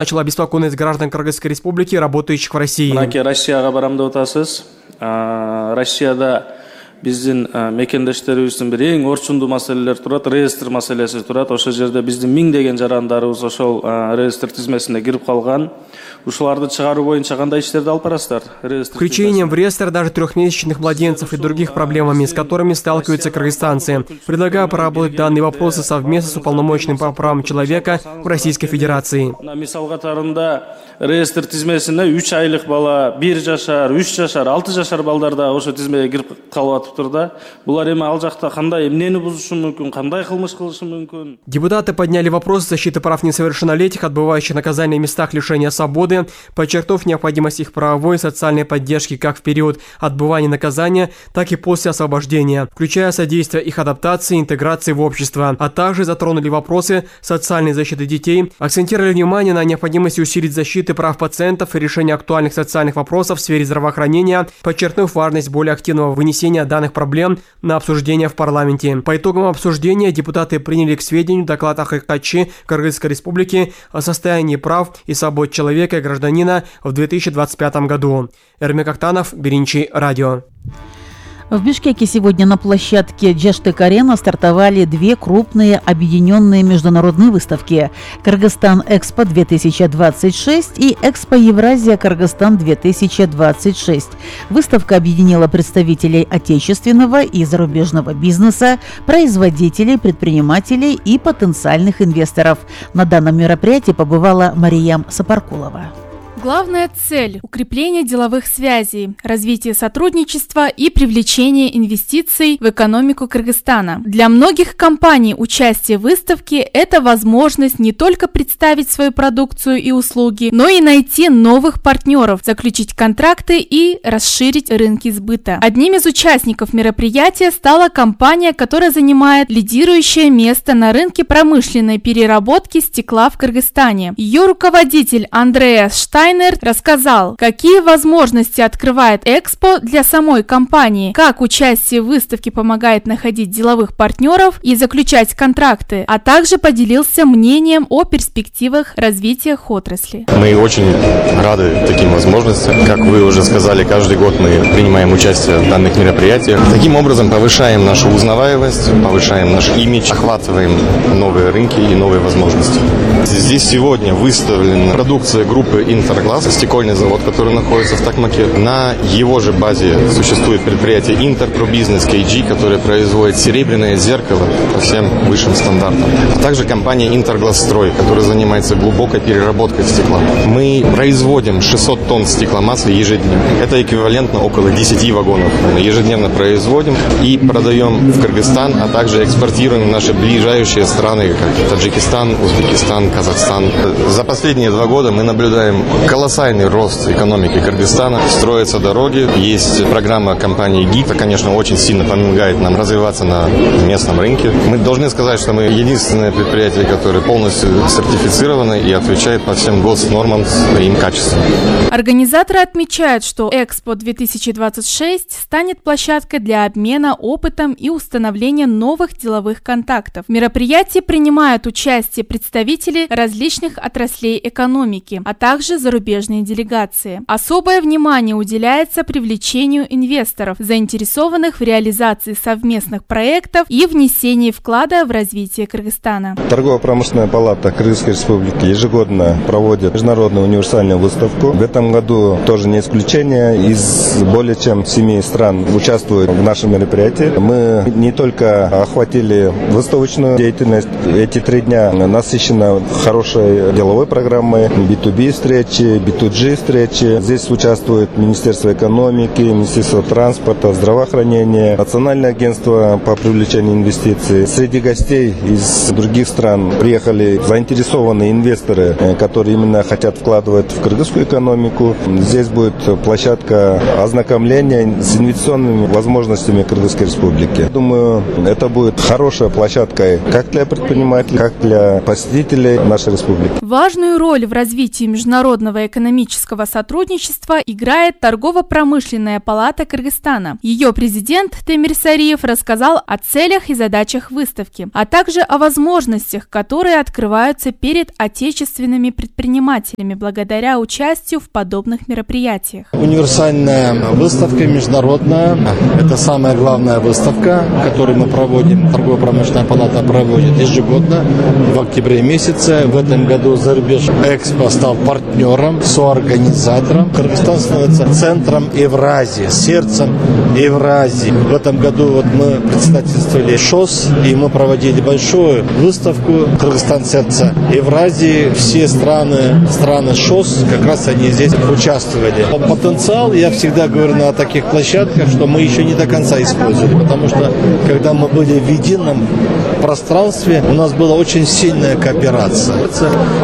Начала беспокойность граждан Кыргызской республики, работающих в России. Россияга барам деп атасыз. Россияда биздин мекендештерибиздин бир эң орчундуу маселелер турат, реестр маселеси турат. Ошол жерде биздин миңдеген жарандарыбыз ошол реестр тизмесине кирип калган. Ушуларды чыгаруу боюнча кандай иштерди алып барасыздар? Включением в реестр даже трехмесячных младенцев и других проблемами, с которыми сталкиваются кыргызстанцы. Предлагаю проработать данные вопросы совместно с уполномоченным по правам человека в Российской Федерации. Мисал катарында реестр тизмесине 3 айлык бала, 1 жашар, 3 жашар, 6 жашар балдар да ошо тизмеге кирип калып атыптыр да. Булар эми ал жакта кандай эмнени бузушу мүмкүн, кандай кылмыш кылышы мүмкүн? Депутаты подняли вопрос защиты прав несовершеннолетних, отбывающих наказание в местах лишения свободы, подчеркнув необходимость их правовой и социальной поддержки как в период отбывания наказания, так и после освобождения, включая содействие их адаптации и интеграции в общество, а также затронули вопросы социальной защиты детей, акцентировали внимание на необходимости усилить защиты прав пациентов и решения актуальных социальных вопросов в сфере здравоохранения, подчеркнув важность более активного вынесения данных проблем на обсуждение в парламенте. По итогам обсуждения депутаты приняли к сведению доклад АХКЧ Кыргызской Республики о состоянии прав и свобод человека и гражданина в 2025 году. Эрмек Актанов, Биринчи радио. В Бишкеке сегодня на площадке Джаштек-Арена стартовали две крупные объединенные международные выставки – Кыргызстан-Экспо-2026 и Экспо-Евразия-Кыргызстан-2026. Выставка объединила представителей отечественного и зарубежного бизнеса, производителей, предпринимателей и потенциальных инвесторов. На данном мероприятии побывала Мариям Сапаркулова. Главная цель – укрепление деловых связей, развитие сотрудничества и привлечение инвестиций в экономику Кыргызстана. Для многих компаний участие в выставке – это возможность не только представить свою продукцию и услуги, но и найти новых партнеров, заключить контракты и расширить рынки сбыта. Одним из участников мероприятия стала компания, которая занимает лидирующее место на рынке промышленной переработки стекла в Кыргызстане. Ее руководитель Андреас Штайнер рассказал, какие возможности открывает Экспо для самой компании, как участие в выставке помогает находить деловых партнеров и заключать контракты, а также поделился мнением о перспективах развития отрасли. Мы очень рады таким возможностям. Как вы уже сказали, каждый год мы принимаем участие в данных мероприятиях. Таким образом повышаем нашу узнаваемость, повышаем наш имидж, охватываем новые рынки и новые возможности. Здесь сегодня выставлена продукция группы Интерглаз, стекольный завод, который находится в Токмаке. На его же базе существует предприятие Интерпробизнес KG, которое производит серебряное зеркало по всем высшим стандартам. А также компания Интерглазстрой, которая занимается глубокой переработкой стекла. Мы производим 600 тонн стекломасла ежедневно. Это эквивалентно около 10 вагонов. Мы ежедневно производим и продаем в Кыргызстан, а также экспортируем в наши ближайшие страны, как Таджикистан, Узбекистан, Казахстан. За последние 2 года мы наблюдаем колоссальный рост экономики Кыргызстана. Строятся дороги, есть программа компании ГИК. Это, конечно, очень сильно помогает нам развиваться на местном рынке. Мы должны сказать, что мы единственное предприятие, которое полностью сертифицировано и отвечает по всем госнормам своим качествам. Организаторы отмечают, что Экспо 2026 станет площадкой для обмена опытом и установления новых деловых контактов. В мероприятии принимают участие представители различных отраслей экономики, а также зарубежные делегации. Особое внимание уделяется привлечению инвесторов, заинтересованных в реализации совместных проектов и внесении вклада в развитие Кыргызстана. Торгово-промышленная палата Кыргызской Республики ежегодно проводит международную универсальную выставку. В этом году тоже не исключение. Из более чем 7 стран участвуют в нашем мероприятии. Мы не только охватили выставочную деятельность. Эти 3 дня насыщены хорошей деловой программой, B2B встречи, B2G встречи. Здесь участвует Министерство экономики, Министерство транспорта, здравоохранения, Национальное агентство по привлечению инвестиций. Среди гостей из других стран приехали заинтересованные инвесторы, которые именно хотят вкладывать в кыргызскую экономику. Здесь будет площадка ознакомления с инвестиционными возможностями Кыргызской Республики. Думаю, это будет хорошей площадкой как для предпринимателей, как для посетителей нашей республики. Важную роль в развитии международного международного экономического сотрудничества играет Торгово-промышленная палата Кыргызстана. Ее президент Темир Сариев рассказал о целях и задачах выставки, а также о возможностях, которые открываются перед отечественными предпринимателями благодаря участию в подобных мероприятиях. Универсальная выставка международная – это самая главная выставка, которую мы проводим. Торгово-промышленная палата проводит ежегодно в октябре месяце. В этом году Зарубеж Экспо стал партнером, соорганизатором. Кыргызстан становится центром Евразии, сердцем Евразии. В этом году мы председательствовали ШОС, и мы проводили большую выставку «Кыргызстан – сердце Евразии». Все страны ШОС, как раз они здесь участвовали. Потенциал, я всегда говорю на таких площадках, что мы еще не до конца использовали, потому что когда мы были в едином пространстве, у нас была очень сильная кооперация.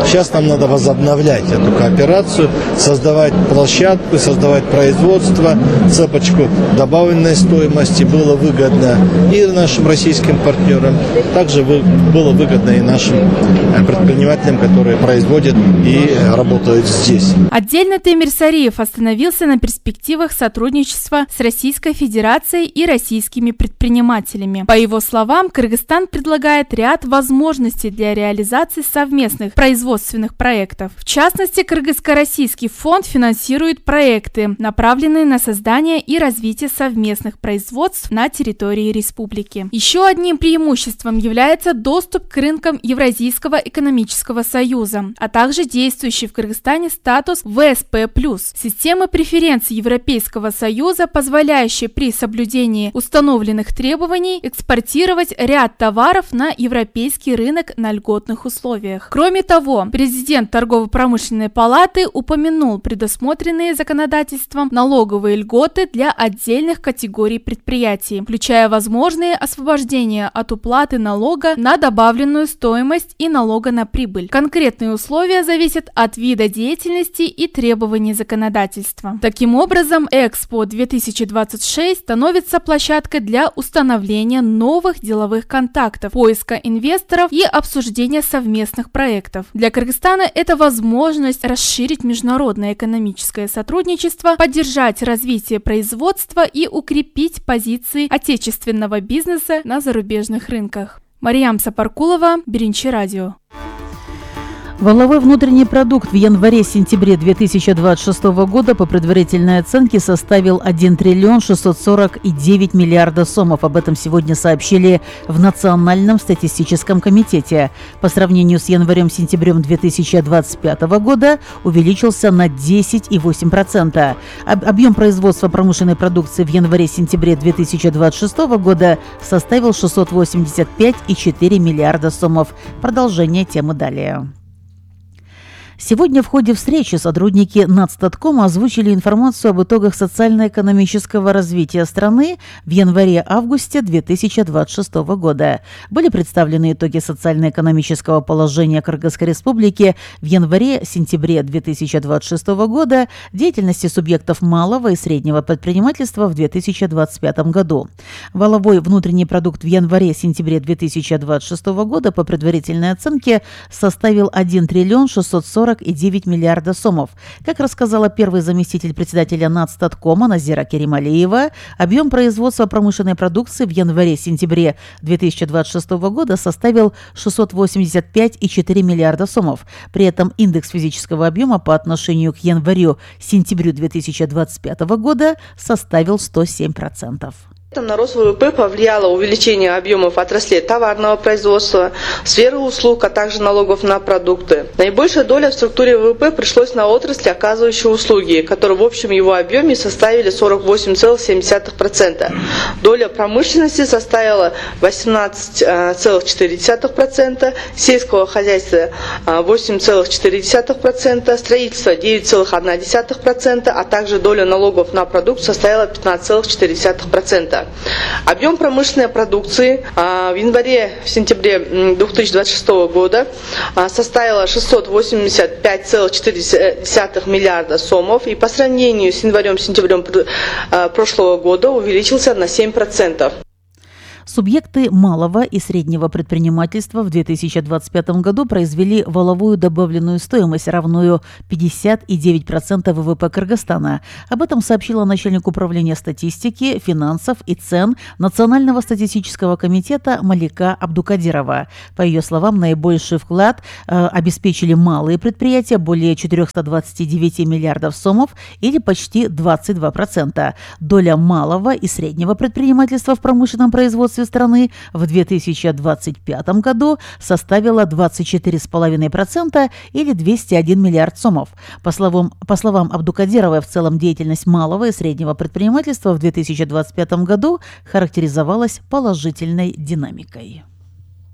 Сейчас нам надо возобновлять эту кооперацию, создавать площадку, создавать производство, цепочку добавленной стоимости. Было выгодно и нашим российским партнерам, также было выгодно и нашим предпринимателям, которые производят и работают здесь. Отдельно Темир Сариев остановился на перспективах сотрудничества с Российской Федерацией и российскими предпринимателями. По его словам, Кыргызстан предлагает ряд возможностей для реализации совместных производственных проектов. В частности, Кыргызско-российский фонд финансирует проекты, направленные на создание и развитие совместных производств на территории республики. Еще одним преимуществом является доступ к рынкам Евразийского экономического союза, а также действующий в Кыргызстане статус ВСП+, системы преференций Европейского союза, позволяющей при соблюдении установленных требований экспортировать ряд товаров на европейский рынок на льготных условиях. Кроме того, президент Торгово-промышленной палаты упомянул предусмотренные законодательством налоговые льготы для отдельных категорий предприятий, включая возможные освобождения от уплаты налога на добавленную стоимость и налога на прибыль. Конкретные условия зависят от вида деятельности и требований законодательства. Таким образом, Экспо 2026 становится площадкой для установления новых деловых контактов, поиска инвесторов и обсуждения совместных проектов. Для Кыргызстана это возможность расширить международное экономическое сотрудничество, поддержать развитие производства и укрепить позиции отечественного бизнеса на зарубежных рынках. Мариям Сапаркулова, Биринчи радио. Валовой внутренний продукт в январе-сентябре 2026 года по предварительной оценке составил 1 триллион 649 миллиардов сомов. Об этом сегодня сообщили в Национальном статистическом комитете. По сравнению с январем-сентябрем 2025 года увеличился на 10,8%. Объем производства промышленной продукции в январе-сентябре 2026 года составил 685,4 миллиарда сомов. Продолжение темы далее. Сегодня в ходе встречи сотрудники Нацстаткома озвучили информацию об итогах социально-экономического развития страны в январе-августе 2026 года. Были представлены итоги социально-экономического положения Кыргызской Республики в январе-сентябре 2026 года, деятельности субъектов малого и среднего предпринимательства в 2025 году. Валовой внутренний продукт в январе-сентябре 2026 года по предварительной оценке составил 1 триллион 649 миллиарда сомов. Как рассказала первый заместитель председателя Нацстаткома Назира Керималиева, объем производства промышленной продукции в январе-сентябре 2026 года составил 685,4 миллиарда сомов. При этом индекс физического объема по отношению к январю-сентябрю 2025 года составил 107%. На рост ВВП повлияло увеличение объемов отраслей товарного производства, сферы услуг, а также налогов на продукты. Наибольшая доля в структуре ВВП пришлось на отрасли, оказывающие услуги, которые в общем его объеме составили 48,7%. Доля промышленности составила 18,4%, сельского хозяйства 8,4%, строительства 9,1%, а также доля налогов на продукт составила 15,4%. Объем промышленной продукции в январе-сентябре 2026 года составила 685,4 миллиарда сомов и по сравнению с январем-сентябрем прошлого года увеличился на 7%. Субъекты малого и среднего предпринимательства в 2025 году произвели валовую добавленную стоимость, равную 59% ВВП Кыргызстана. Об этом сообщила начальник управления статистики, финансов и цен Национального статистического комитета Малика Абдукадирова. По ее словам, наибольший вклад обеспечили малые предприятия, более 429 миллиардов сомов или почти 22%. Доля малого и среднего предпринимательства в промышленном производстве страны в 2025 году составила 24,5% или 201 миллиард сомов. По словам Абдукадировой, в целом деятельность малого и среднего предпринимательства в 2025 году характеризовалась положительной динамикой.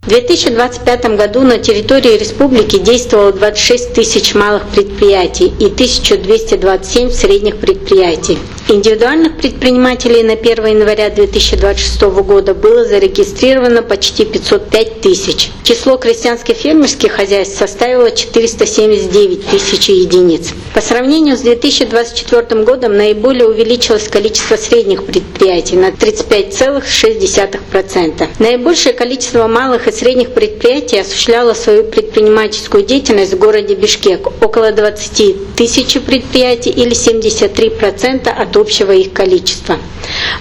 В 2025 году на территории республики действовало 26 тысяч малых предприятий и 1227 средних предприятий. Индивидуальных предпринимателей на 1 января 2026 года было зарегистрировано почти 505 тысяч. Число крестьянских фермерских хозяйств составило 479 тысяч единиц. По сравнению с 2024 годом наиболее увеличилось количество средних предприятий на 35,6%. Наибольшее количество малых и средних предприятий осуществляло свою предпринимательскую деятельность в городе Бишкек. Около 20 тысяч предприятий или 73% от общего их количества.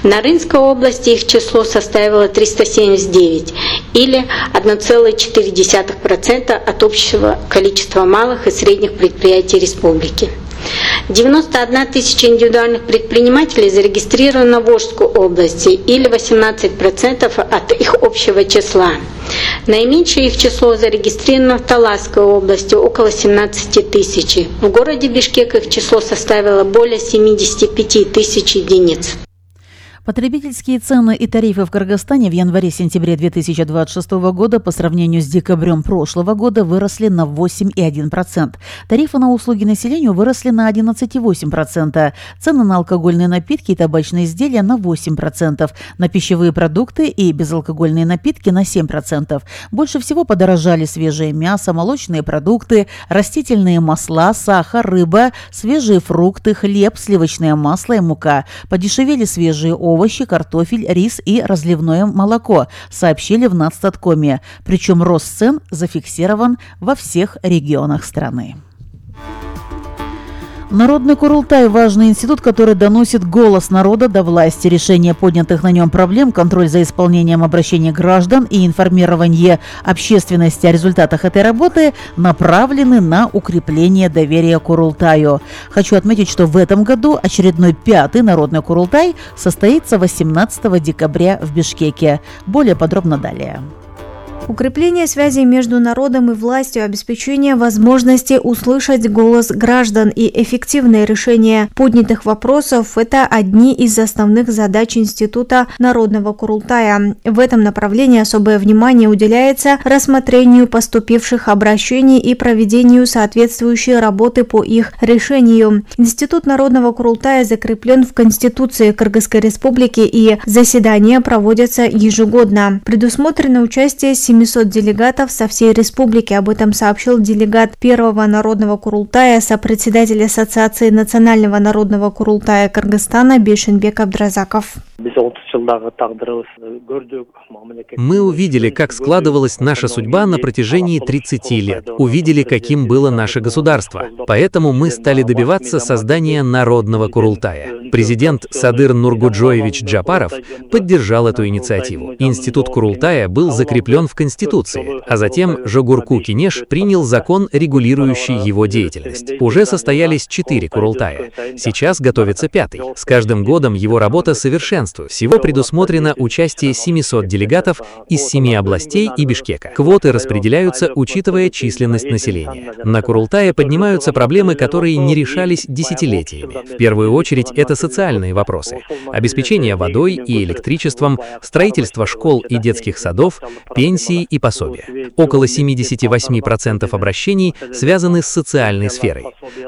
В Нарынской области их число составило 379 или 1,4% от общего количества малых и средних предприятий республики. 91 тысяча индивидуальных предпринимателей зарегистрировано в Волжской области или 18% от их общего числа. Наименьшее их число зарегистрировано в Таласской области, около 17 тысяч. В городе Бишкек их число составило более 75 тысяч единиц. Потребительские цены и тарифы в Кыргызстане в январе-сентябре 2026 года по сравнению с декабрем прошлого года выросли на 8,1%. Тарифы на услуги населению выросли на 11,8%. Цены на алкогольные напитки и табачные изделия на 8%. На пищевые продукты и безалкогольные напитки на 7%. Больше всего подорожали свежее мясо, молочные продукты, растительные масла, сахар, рыба, свежие фрукты, хлеб, сливочное масло и мука. Подешевели свежие овощи, картофель, рис и разливное молоко, сообщили в Нацстаткоме. Причем рост цен зафиксирован во всех регионах страны. Народный Курултай – важный институт, который доносит голос народа до власти. Решение поднятых на нем проблем, контроль за исполнением обращений граждан и информирование общественности о результатах этой работы направлены на укрепление доверия Курултаю. Хочу отметить, что в этом году очередной 5-й Народный Курултай состоится 18 декабря в Бишкеке. Более подробно далее. Укрепление связей между народом и властью, обеспечение возможности услышать голос граждан и эффективное решение поднятых вопросов – это одни из основных задач Института Народного Курултая. В этом направлении особое внимание уделяется рассмотрению поступивших обращений и проведению соответствующей работы по их решению. Институт Народного Курултая закреплен в Конституции Кыргызской Республики, и заседания проводятся ежегодно. Предусмотрено участие 700 делегатов со всей республики. Об этом сообщил делегат Первого Народного Курултая, сопредседатель Ассоциации Национального Народного Курултая Кыргызстана Бейшенбек Абдразаков. Мы увидели, как складывалась наша судьба на протяжении 30 лет. Увидели, каким было наше государство. Поэтому мы стали добиваться создания Народного Курултая. Президент Садыр Нургуджоевич Джапаров поддержал эту инициативу. Институт Курултая был закреплен в Конституции, а затем Жогурку Кинеш принял закон, регулирующий его деятельность. Уже состоялись 4 Курултая. Сейчас готовится 5-й. С каждым годом его работа совершенствуется. Всего предусмотрено участие 700 делегатов из 7 областей и Бишкека. Квоты распределяются, учитывая численность населения. На Курултае поднимаются проблемы, которые не решались десятилетиями. В первую очередь это социальные вопросы. Обеспечение водой и электричеством, строительство школ и детских садов, пенсии и пособия. Около 78% обращений связаны с социальной сферой.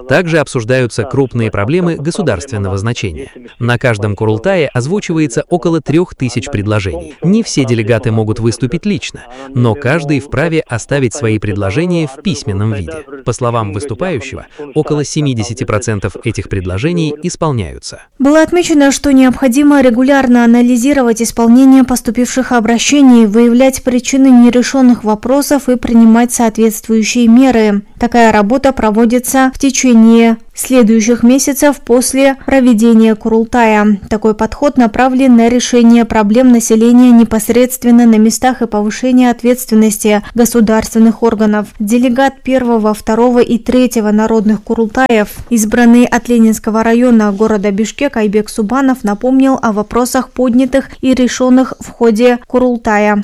Также обсуждаются крупные проблемы государственного значения. На каждом Курултае озвучиваются озвучивается около 3000 предложений. Не все делегаты могут выступить лично, но каждый вправе оставить свои предложения в письменном виде. По словам выступающего, около 70% этих предложений исполняются. Было отмечено, что необходимо регулярно анализировать исполнение поступивших обращений, выявлять причины нерешенных вопросов и принимать соответствующие меры. Такая работа проводится в течение следующих месяцев после проведения Курултая. Такой подход направлен на решение проблем населения непосредственно на местах и повышение ответственности государственных органов. Делегат 1, 2 и 3 народных Курултаев, избранный от Ленинского района города Бишкек Айбек Субанов, напомнил о вопросах, поднятых и решенных в ходе Курултая.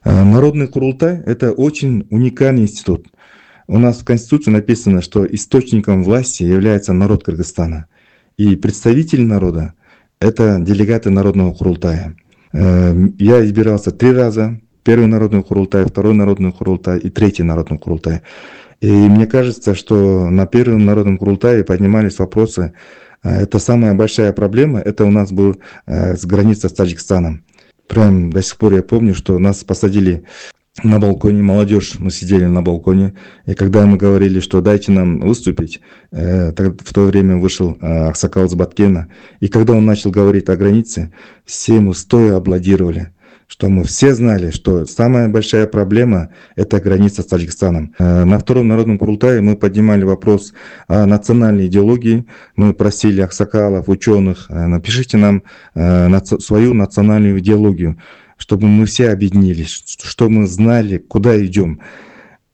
Народный Курултай – это очень уникальный институт. У нас в Конституции написано, что источником власти является народ Кыргызстана. И представители народа – это делегаты Народного Курултая. Я избирался 3 раза. 1-й Народный Курултай, 2-й Народный Курултай и 3-й Народный Курултай. И мне кажется, что на 1-м Народном Курултае поднимались вопросы. Это самая большая проблема. Это у нас был с границы с Таджикистаном. Прям до сих пор я помню, что нас посадили на балконе, молодежь, мы сидели на балконе, и когда мы говорили, что дайте нам выступить, в то время вышел Аксакал из Баткена, и когда он начал говорить о границе, все ему стоя аплодировали, что мы все знали, что самая большая проблема – это граница с Таджикистаном. На 2-м Народном Курултае мы поднимали вопрос о национальной идеологии, мы просили аксакалов, ученых, напишите нам свою национальную идеологию, чтобы мы все объединились, чтобы мы знали, куда идем.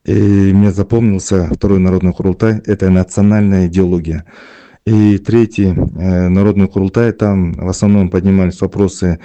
И мне запомнился 2-й Народный Курултай – это национальная идеология. И 3-й Народный Курултай, там в основном поднимались вопросы,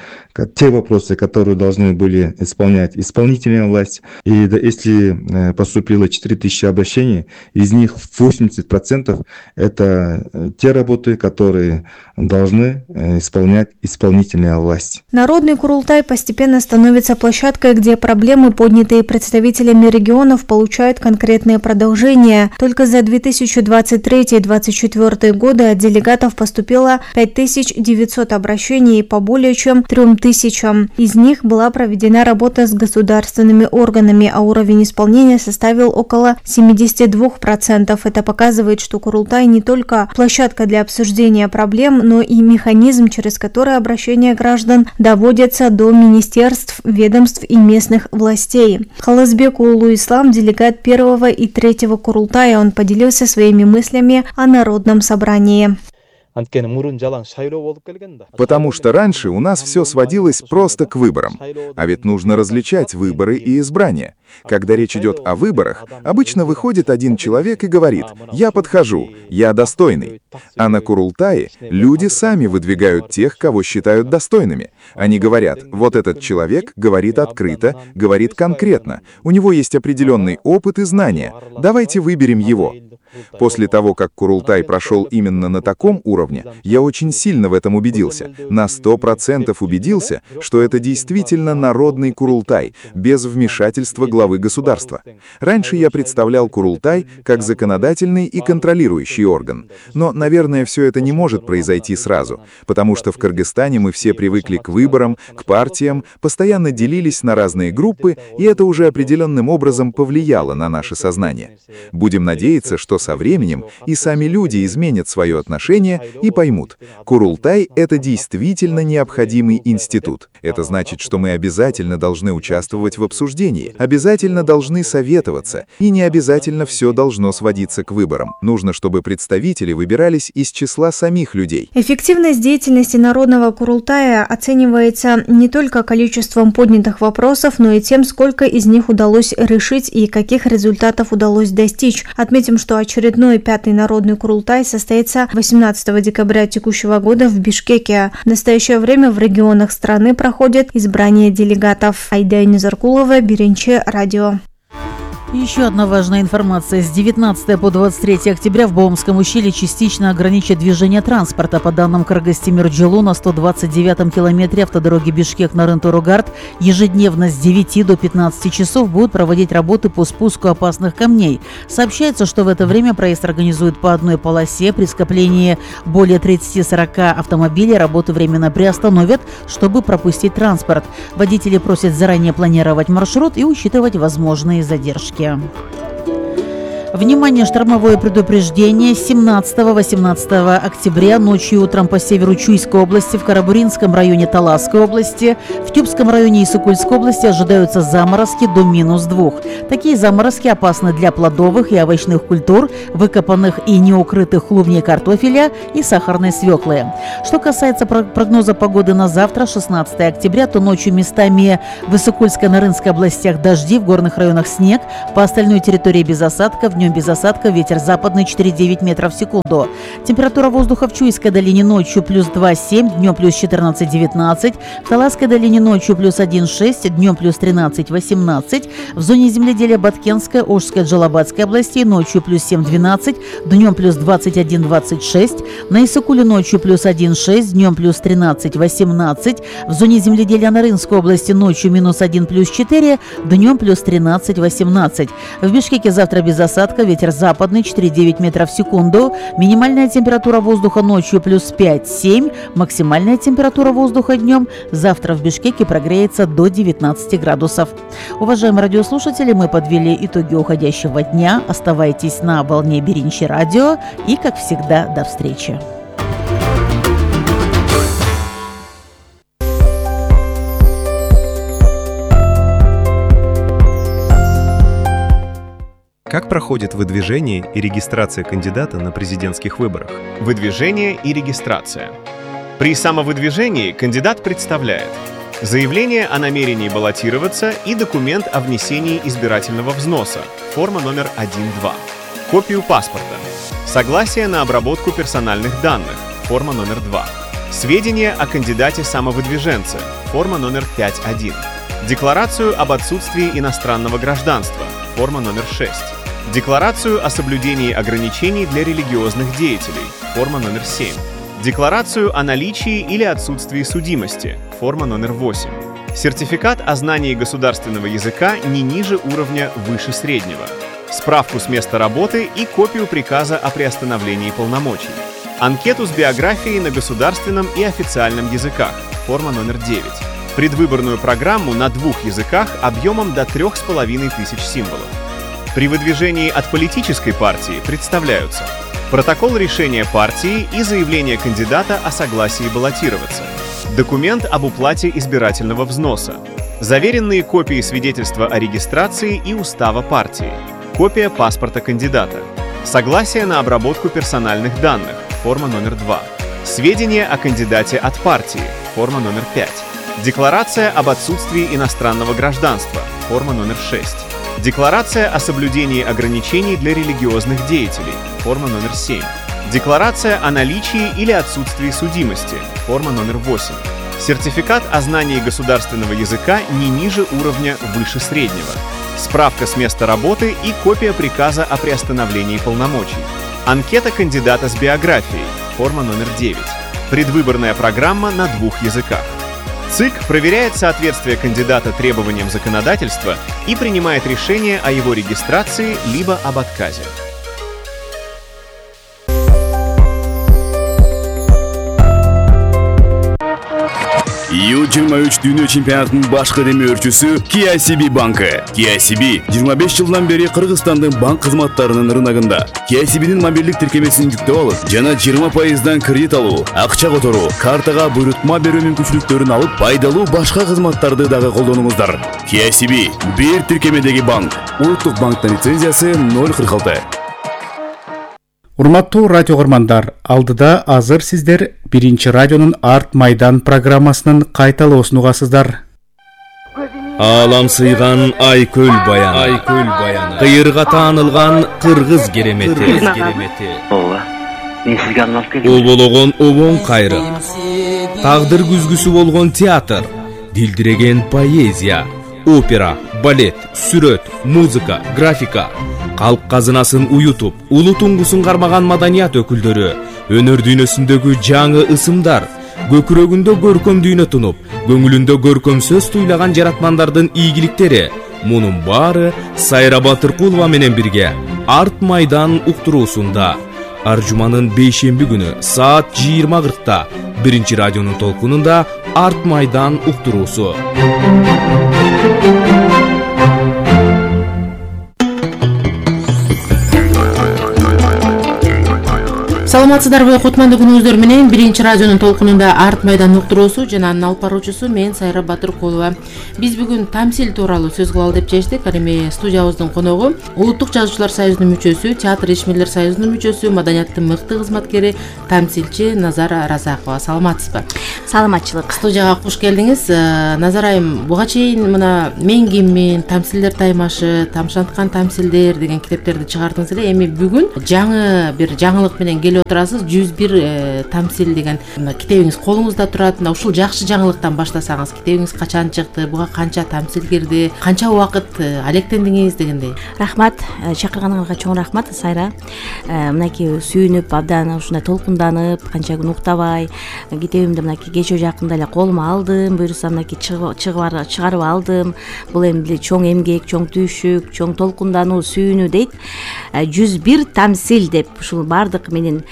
те вопросы, которые должны были исполнять исполнительная власть. И если поступило 4000 обращений, из них 80% это те работы, которые должны исполнять исполнительная власть. Народный Курултай постепенно становится площадкой, где проблемы, поднятые представителями регионов, получают конкретные продолжения. Только за 2023-2024 годы от делегатов поступило 5900 обращений по более чем 3000. Из них была проведена работа с государственными органами, а уровень исполнения составил около 72%. Это показывает, что Курултай не только площадка для обсуждения проблем, но и механизм, через который обращения граждан доводятся до министерств, ведомств и местных властей. Халазбек Улу Ислам, делегат 1 и 3 Курултая, он поделился своими мыслями о народном собрании. Потому что раньше у нас все сводилось просто к выборам. А ведь нужно различать выборы и избрания. Когда речь идет о выборах, обычно выходит один человек и говорит: «Я подхожу, я достойный». А на Курултае люди сами выдвигают тех, кого считают достойными. Они говорят: вот этот человек говорит открыто, говорит конкретно, у него есть определенный опыт и знания, давайте выберем его. После того, как Курултай прошел именно на таком уровне, я очень сильно в этом убедился. На 100% убедился, что это действительно народный Курултай, без вмешательства главы государства. Раньше я представлял Курултай как законодательный и контролирующий орган. Но, наверное, все это не может произойти сразу, потому что в Кыргызстане мы все привыкли к выборам, к партиям, постоянно делились на разные группы, и это уже определенным образом повлияло на наше сознание. Будем надеяться, что со временем и сами люди изменят свое отношение и поймут: Курултай — это действительно необходимый институт. Это значит, что мы обязательно должны участвовать в обсуждении, обязательно должны советоваться, и не обязательно все должно сводиться к выборам. Нужно, чтобы представители выбирались из числа самих людей. Эффективность деятельности Народного Курултая оценивается не только количеством поднятых вопросов, но и тем, сколько из них удалось решить и каких результатов удалось достичь. Отметим, что очередной 5-й Народный Курултай состоится 18 декабря текущего года в Бишкеке. В настоящее время в регионах страны проходит избрание делегатов. Айда Низаркулова, Биринче радио. Еще одна важная информация. С 19 по 23 октября в Боомском ущелье частично ограничат движение транспорта. По данным Кыргыз-Тимир-Жолу, на 129-м километре автодороги Бишкек-Нарын-Торугард ежедневно с 9 до 15 часов будут проводить работы по спуску опасных камней. Сообщается, что в это время проезд организуют по одной полосе. При скоплении более 30-40 автомобилей работы временно приостановят, чтобы пропустить транспорт. Водители просят заранее планировать маршрут и учитывать возможные задержки. Внимание, штормовое предупреждение. 17-18 октября ночью и утром по северу Чуйской области, в Карабуринском районе Таласской области, в Тюбском районе Исыкульской области ожидаются заморозки до -2. Такие заморозки опасны для плодовых и овощных культур, выкопанных и неукрытых клубней картофеля и сахарной свеклы. Что касается прогноза погоды на завтра, 16 октября, то ночью местами в Исыкульской, Нарынской областях дожди, в горных районах снег, по остальной территории без осадков. Днем без осадка, ветер западный 4,9 метров в секунду. Температура воздуха в Чуйской долине ночью +2,7, днем +14,19. В Таласской долине ночью +1,6, днем +13,18. В зоне земледелия Баткенской, Ошской, Джалабадской областей ночью +7,12, днем +21,26. На Исыкуле ночью +1,6, днем +13,18. В зоне земледелия Нарынской области ночью -1, +4, днем +13,18. В Бишкеке завтра без осадка, ветер западный 4,9 метров в секунду. Минимальная температура воздуха ночью +5-7. Максимальная температура воздуха днем завтра в Бишкеке прогреется до 19 градусов. Уважаемые радиослушатели, мы подвели итоги уходящего дня. Оставайтесь на волне Биринчи радио и, как всегда, до встречи. Как проходит выдвижение и регистрация кандидата на президентских выборах? Выдвижение и регистрация. При самовыдвижении кандидат представляет заявление о намерении баллотироваться и документ о внесении избирательного взноса, форма номер 1.2, копию паспорта, согласие на обработку персональных данных, форма номер 2, сведения о кандидате-самовыдвиженце, форма номер 5.1, декларацию об отсутствии иностранного гражданства, форма номер 6, декларацию о соблюдении ограничений для религиозных деятелей, форма номер 7, декларацию о наличии или отсутствии судимости, форма номер 8, сертификат о знании государственного языка не ниже уровня выше среднего, справку с места работы и копию приказа о приостановлении полномочий, анкету с биографией на государственном и официальном языках, форма номер 9, предвыборную программу на 2 языках объемом до 3500 символов. При выдвижении от политической партии представляются протокол решения партии и заявление кандидата о согласии баллотироваться, документ об уплате избирательного взноса, заверенные копии свидетельства о регистрации и устава партии, копия паспорта кандидата, согласие на обработку персональных данных, форма номер 2, сведения о кандидате от партии, форма номер 5, декларация об отсутствии иностранного гражданства, форма номер 6, декларация о соблюдении ограничений для религиозных деятелей, форма номер 7, декларация о наличии или отсутствии судимости, форма номер 8, сертификат о знании государственного языка не ниже уровня выше среднего, справка с места работы и копия приказа о приостановлении полномочий, анкета кандидата с биографией, форма номер 9, предвыборная программа на 2 языках. ЦИК проверяет соответствие кандидата требованиям законодательства и принимает решение о его регистрации либо об отказе. Ю-23 дүйнө чемпионатынын башкы демөөрчүсү KCB банкы. KCB 25 жылдан бери Кыргызстандын банк кызматтарынын рыногунда. KCB'нин мобилдик тиркемесин жүктөп алып, жана 20% кредит алуу, акча которуу, картага буйрутма берүү мүмкүнчүлүктөрүн алып, пайдалуу башка кызматтарды дагы колдонуңуздар. KCB бир тиркемедеги банк. Улуттук банктын лицензиясы 046. Урматтуу радио көрмандар, алдыда азыр сиздер Биринчи радионун Арт Майдан программасынын кайталоосун угасыздар. Алам сыйган Айкөл баяны. Кыйырга таанылган кыргыз керемети. Ооба. Мен сизге арналып келдим. Обологон обоң кайрык. Тагдыр күзгүсү болгон театр. Дилдиреген поэзия. опера, балет, сүрөт, музыка, графика, калк казынасын уютуп, улуу туңгусун кармаган маданият өкүлдөрү, өнөр дүйнөсүндөгү жаңы ысымдар, көкүрөгүндө көркөм дүйнө тунуп, көңүлүндө көркөм сөз туйлаган жаратмандардын ийгиликтери, мунун баары Сайра Батыркулова менен бирге Арт Майдан уктуруусунда ар жуманын бейшемби күнү саат 20:40 биринчи радионун толкунунда Арт Майдан уктуруусу. Саламатсыздарбы, кутмандуу күнүңүздөр менен биринчи радионун толкунунда Арт Майдан уктуруусу жана анын алып баруучусу мен Сайра Батыркулова. Биз бүгүн тамсил тууралуу сөз кылалы деп чечтик. Ал эми студиябыздын коногу Улуттук жазуучулар союзунун мүчөсү, театр ишмерлер союзунун мүчөсү, маданияттын мыкты кызматкери, тамсилчи Назара Разакова. Саламатсызбы? Саламатчылык. Студияга куш келдиңиз. Назар айым, буга чейин мына Мен киммин, Тамсилдер таймашы, Тамшанткан тамсилдер деген китептерди чыгардыңыз эле. Эми бүгүн жаңы бир жаңылык менен келип отурасыз. 101 тамсил деген китебиңиз колуңузда турат. Ушул жакшы жаңылыктан баштасаңыз, китебиңиз качан чыкты, буга канча тамсил кирди, канча убакыт алектендиңиз дегендей. Рахмат, чакырганыңызга чоң рахмат, Сайра. Мынакей сүйүнүп, абдан ушундай толкунданып, канча күн уктабай, китебимди мынакей кечээ жакында эле колума алдым, буюрса мынакей чыгарып алдым. Бул эми чоң эмгек, чоң түйшүк, чоң толкундануу, сүйүнүү дейт. 101 тамсил деп ушул бардык менин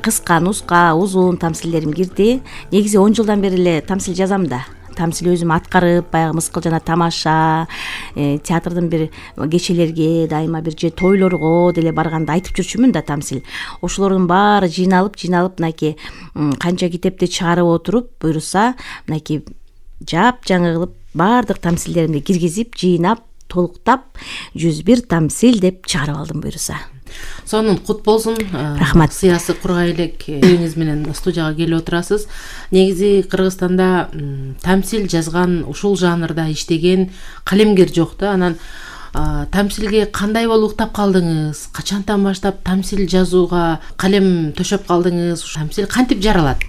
кыска, нуска, узун тамсилдерим кирди. Негизи 10 жылдан бери эле тамсил жазам да. Тамсил өзүм аткарып, баягы Мыскыл жана тамаша, театрдын бир кечелерге, дайыма бир же тойлорго деле барганда айтып жүрчүмүн да тамсил. Ошолордун баары жыйналып мынакей канча китепти чыгарып отуруп, буюрса мынакей жап-жаңы кылып бардык тамсилдеримди киргизип, жыйнап, толуктап 101 тамсил деп чыгарып алдым буюрса. Сонун кут болсун. Рахмат. Сыясы кургай элек китебиңиз менен студияга келип отурасыз. Негизи Кыргызстанда тамсил жазган, ушул жанрда иштеген калемгер жок да. Анан тамсилге кандай болуп уктап калдыңыз? Качантан баштап тамсил жазууга калем төшөп калдыңыз? Тамсил кантип жаралат?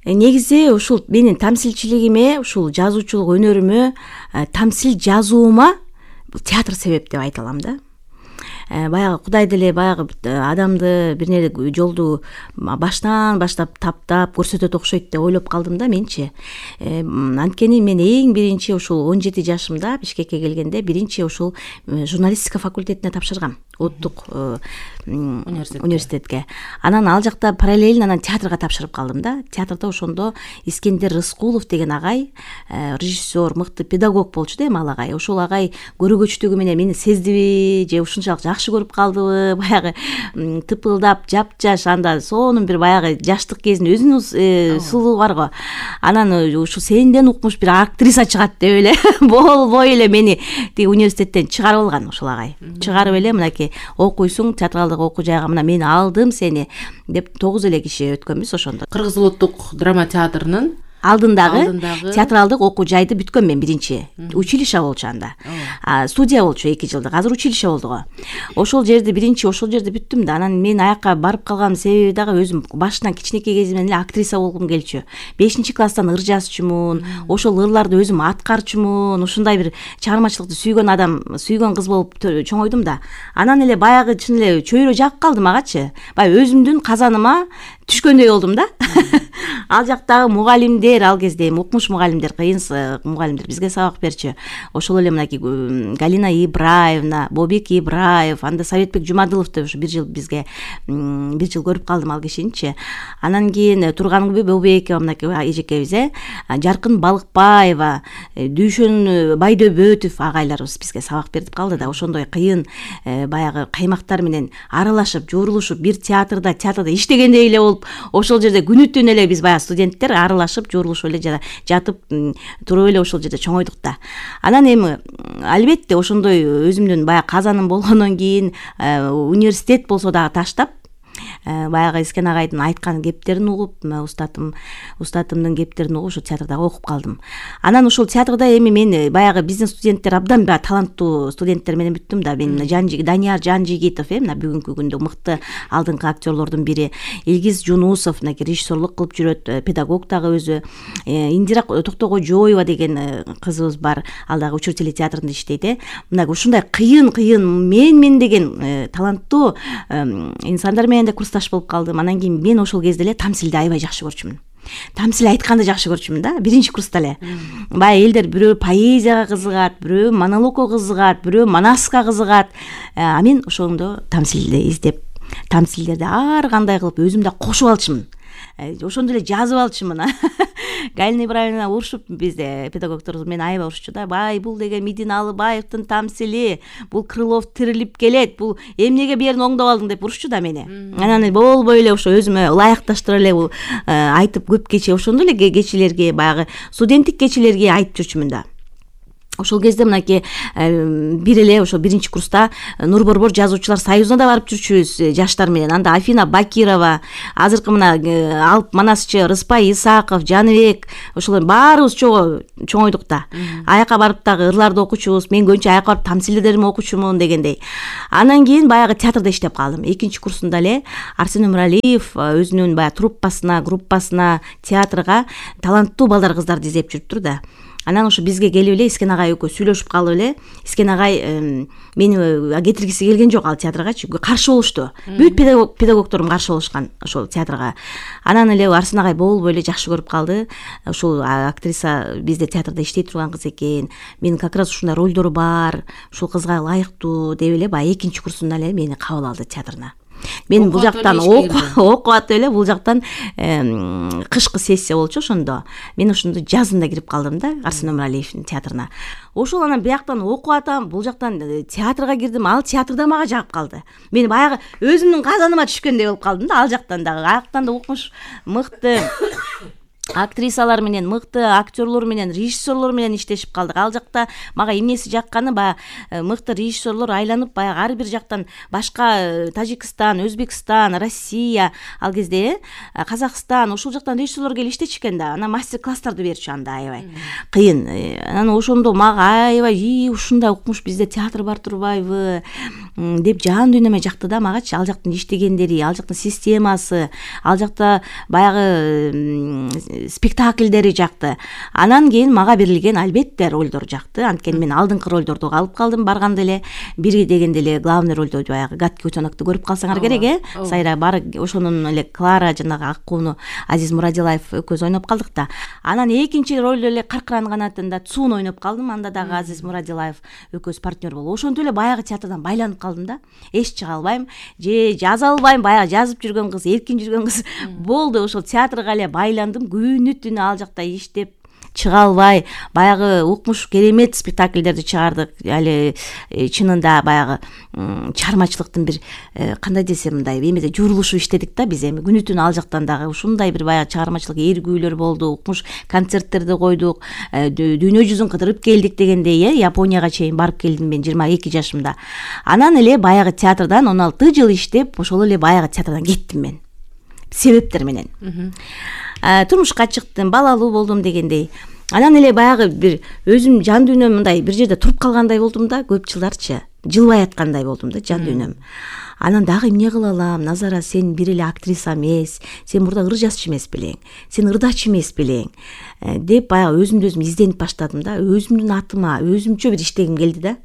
Негизи ушул менин тамсилчилигиме, ушул жазуучулук өнөрүмө, тамсил жазуума театр себеп деп айта алам да. Баягы Кудай деле баягы адамды бир нерсе жолду баштан баштап таптап көрсөтөт окшойт деп ойлоп калдым да менчи. Анткени мен эң биринчи ушул 17 жашымда Бишкекке келгенде биринчи ушул журналистика факультетине тапшыргам. Улуттук университетке. Анан ал жакта параллельно анан театрга тапшырып калдым да. Театрда ошондо Искендер Рыскулов деген агай, режиссер, мыкты педагог болчу да эми ал агай. Ошол агай көрөгөчтүгү менен мени сездиби же ушунчалык жакшы көрүп калдыбы, баягы тыпылдап, жапжаш, анда сонун бир баягы жаштык кезинин өзүнүн сулуу бар го. Анан ушу сенден укмуш бир актриса чыгат деп эле болбой эле мени тиги университеттен чыгарып алган ушул агай. Чыгарып эле мынакей окуйсуң, театралдык окуу жайга мына мен алдым сени деп 9 эле киши өткөнбүз ошондо. Кыргыз улуттук драма театрынын алдындагы театралдык окуу жайды бүткөм мен биринчи. Училище болчу анда. Студия болчу 2 жылдык. Азыр училище болду го. Ошол жерди биринчи ошол жерде бүттүм да. Анан мен аякка барып калган себеби дагы өзүм башынан кичинекей кезимден эле актриса болгум келчү. 5-класстан ыр жазчумун. Ошол ырларды өзүм аткарчумун. Ушундай бир чыгармачылыкты сүйгөн адам, сүйгөн кыз болуп чоңойдум да. Анан эле баягы чын эле чөйрө жагып калдым агачы. Баягы өзүмдүн казаныма түшкөндөй болдум да. Ал жактагы мугалимдер, ал кезде эми укмуш мугалимдер, кыйын мугалимдер бизге сабак берчү. Ошол эле мынакей Галина Ибраевна, Бобек Ибраев, анда Советбек Жумадылов деп ушу бир жыл бизге бир жыл көрүп калдым ал кишиничи. Анан кийин Тургангүл Бобекова мынакей эжекебиз, Жаркын Балыкбаева, Дүйшөн Байдөбөтов агайларыбыз бизге сабак берип калды да. Ошондой кыйын баягы каймактар менен аралашып, журулушуп, бир театрда иштегендей эле болуп, ошол жерде күнү-түн эле биз баягы студенттер аралашып, журулушуп эле жатып туруп эле ошол жерде чоңойдук да. Анан эми албетте ошондой өзүмдүн баягы казаным болгондон кийин университет болсо дагы таштап баягы Искен агайдын айткан кептерин угуп, устатымдын кептерин угуп ошо театрда окуп калдым. Анан ошол театрда эми мен баягы биздин студенттер абдан таланттуу студенттер менен бүттүм да. Мен Данияр Жанжигитов, мына бүгүнкү күндө мыкты алдыңкы актерлордун бири, Илгиз Жунусов, мына режиссерлук кылып жүрөт, педагог дагы өзү. Индира Токтогожоева деген кызыбыз бар, ал дагы учредитель театрында иштейт. Мына ушундай кыйын мен деген таланттуу инсандар менен да курсташ болуп калдым. Анан кийин мен ошол кезде эле тамсилди аябай жакшы көрчүмүн. Тамсил айтканды жакшы көрчүмүн да, биринчи курста эле. Баягы элдер бирөө поэзияга кызыгат, бирөө монологко кызыгат, бирөө манаска кызыгат. А мен ошондо тамсилди издеп, тамсилдерди ар кандай кылып өзүм да кошуп алчумун. Ошондо эле жазып алчумун. Галина Ибраевна урушуп, бизде педагогдор мен аябай урушчу да. Бай, бул деген Мидин Алыбаевдин тамсили, бул Крылов тирилип келет, бул эмнеге берин оңдоп алдың деп урушчу да мени. Анан болбой эле ошо өзүмө ылайыкташтыра эле айтып көп кече, ошондо эле кечелерге, баягы студенттик кечелерге айтып жүрчүмүн да. Ошол кезде мынакей бир эле ошо биринчи курста Нур Борбор жазуучулар союзуна да барып жүрчүбүз жаштар менен. Анда Афина Бакирова, азыркы мына Алп Манасчы, Рыспай Исаков, Жаныбек, ошолор баарыбыз чоңойдук да. Аяка барып дагы ырларды окучубуз. Мен көбүнчө аяка барып тамсилдерими окучумун дегендей. Анан кийин баягы театрда иштеп калдым. Экинчи курсунда эле Арсен Өмүралиев өзүнүн баягы труппасына, группасына, театрга таланттуу балдар кыздарды издеп жүрүптүр да. Анан ошо бизге келип эле Искен агай экөө сүйлөшүп калып эле, Искен агай мени кетиргиси келген жок ал театргачы, каршы болушту. Бүт педагогдорум каршы болушкан ошол театрга. Анан эле Арсен агай болбой эле жакшы көрүп калды. Ошол актриса бизде театрда иштей турган кыз экен. Менин как раз ушундай ролдору бар, ушул кызга ылайыктуу деп эле баягы экинчи курсунда эле мени кабыл алды театрына. Мен бул жактан окуп атып эле, бул жактан кышкы сессия болчу ошондо. Мен ошондо жазында кирип калдым да Арсен Өмүралиевдин театрына. Ошол анан бияктан окуп атам, бул жактан театрга кирдим, ал театрда мага жагып калды. Мен баягы өзүмдүн казаныма түшкөндөй болуп калдым да, ал жактан дагы. Аяктан да укмуш мыкты актрисалар менен, мыкты актерлор менен, режиссерлор менен иштешип калдык. Ал жакта мага эмнеси жакканы, баягы мыкты режиссерлор айланып, баягы ар бир жактан башка Тажикстан, Өзбекстан, Россия, ал кезде Казакстан, ошол жактан режиссерлор келип иштечү экен да. Анан мастер-класстарды берчү анда аябай. Кыйын. Анан ошондо мага аябай ушундай укмуш бизде театр бар турбайбы деп жан дүйнөмө жакты да магачы. Ал жактын иштегендери, ал жактын системасы, ал жакта баягы спектакльдери жакты. Анан кийин мага берилген албетте ролдор жакты. Анткени мен алдыңкы ролдорду алып калдым барганда эле. Бири дегенде эле главный ролдо баягы Гатки Утонокду көрүп калсаңар керек, Сайра бар ошонун эле Клара жанагы Аккууну Азиз Мурадилаев экөөбүз ойноп калдык да. Анан экинчи ролдо эле Каркыран канатында Цун ойноп калдым. Анда дагы Азиз Мурадилаев экөөбүз партнер болуп. Ошонтип эле баягы театрдан байланып калдым да. Эч чыга албайм, же жаза албайм, баягы жазып жүргөн кыз, эркин жүргөн кыз болду. Ошол театрга эле байландым. Күнү-түнү ал жакта иштеп чыга албай, баягы укмуш керемет спектакльдерди чыгардык. Али чынында баягы чыгармачылыктын бир кандай десем мындай эмеде журулушуп иштедик да биз. Эми күнү-түнү ал жактан дагы ушундай бир баягы чыгармачылык эргүүлөр болду, укмуш концерттерди койдук, дүйнө жүзүн кыдырып келдик дегендей, Японияга чейин барып келдим мен 22 жашымда. Анан эле баягы театрдан 16 жыл иштеп, ошол эле баягы театрдан кеттим мен. Себептер менен. Турмушка чыктым, балалуу болдум дегендей. Анан эле баягы бир өзүм жан дүйнөм мындай бир жерде туруп калгандай болдум да, көп жылдарчы. Жылбай аткандай болдум да жан дүйнөм. Анан дагы эмне кыла алам? Назара, сен бир эле актриса эмес, сен мурда ыр жазчы эмес белең, сен ырдачы эмес белең деп баягы өзүмдү өзүм изденип баштадым да. Өзүмдүн атыма өзүмчө бир иштегим келди да.